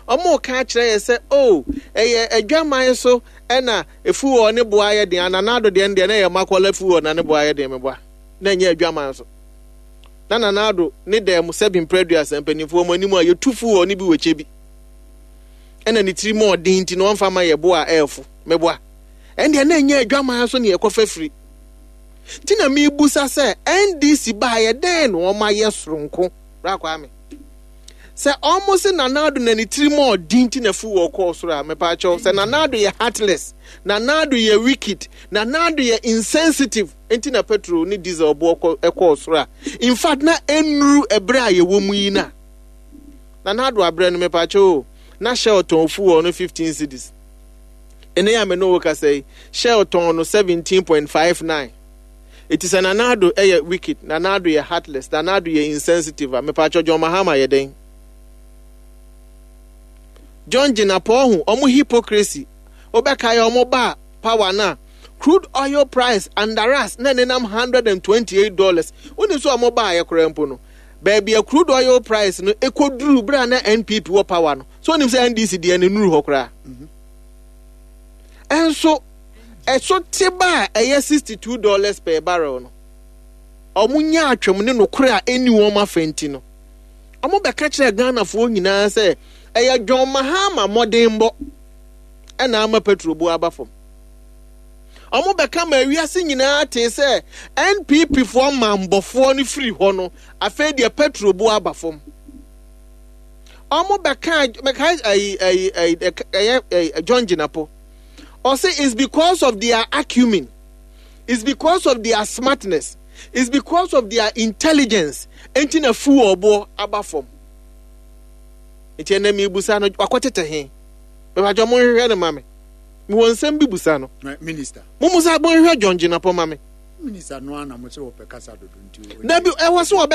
Speaker 14: ɔmo ka kyerɛ yɛ sɛ, oh, ɛyɛ adwaman so ɛna fuel ne boa yɛ den. Nana Addo deɛ no deɛ na ɛyɛ Makola fuel na ne boa yɛ den, meboa na ɛnyɛ adwaman so. Na Nana Addo ne dɛm sɛbi mprɛduasa mpanimfoɔ mu anim a yɛtu fuel ne bi wɔ kyɛ bi ɛna ne tiri mu ɔden nti na ɔmfa ma yɛ boa ɛɛfo, meboa ɛndeɛ na ɛnyɛ adwaman so ne yɛkɔfa firi. Nti na mebusa sɛ N D C baayɛ dɛn na ɔma yɛ soronko bra Kwame sɛ ɔmo se Nana Addo na ne tiri mu ɔden nti na fuel kɔɔ soro a, mepaakyɛw, sɛ Nana Addo yɛ heartless, Nana Addo yɛ wicked, Nana Addo yɛ insensitive nti na petrol ne diesel boɔ ɛkɔɔ soro a, in fact na ɛnuru ɛberɛ a yɛwɔ mu yi na Nana Addo abrɛ no, mepaakyɛw o, na Shell tɔn fuel no fifteen cedis. Ɛnɛ yɛ a me ne wo kasa yi, Shell tɔn no seventeen point five nine. Eti sɛ Nana Addo ɛyɛ wicked, Nana Addo yɛ heartless, Nana Addo yɛ insensitive a, mepaakyɛw, John Mahama yɛ dɛn? John Jinapor ho ɔmo hypocrisy, wobɛka yɛ ɔmo ba power na crude oil price under us na nenam hundred and twenty-eight dollars. Wonim sɛ ɔmo baa yɛ koraa mpo no, baabi a crude oil price no ɛkɔduru berɛ a na N P P wɔ power no so, wonim sɛ N D C deɛ no nuru hɔ koraa. Ɛnso ɛso te ba a ɛyɛ sixty two dollars per barrel no, ɔmo nya atwam ne nokorɛ a ɛni wɔn afa nti no, ɔmo bɛka kyerɛ Ghanafoɔ nyinaa sɛ ɛyɛ John Mahama mmɔdenbɔ ɛna ama petrol bu aba fam. Ɔmo bɛka ma ewiase nyinaa tee sɛ N P P foɔ mambɔfoɔ no firi hɔ no, afei deɛ petrol bu aba fam. Ɔmo bɛka bɛka ɛyi ɛyi ɛyi ɛyɛ ɛyɛ John Jinapor ɔsɛ it's because of their acumen, it's because of their smartness, it's because of their intelligence nti na fuel boɔ aba fam. Nti ɛnna mi busa no, wakɔtete he? Bɛbàjɔ mo nhwehwɛ no ma me, mewɔ nsɛm bi busa no.
Speaker 3: Minister.
Speaker 14: Mo musa, mo nhwehwɛ John Jinapor ma me.
Speaker 3: Minister no ana mo sɛ wɔpɛ kasa dodo nti.
Speaker 14: Dabi, ɛwɔ sɛ wɔbɛ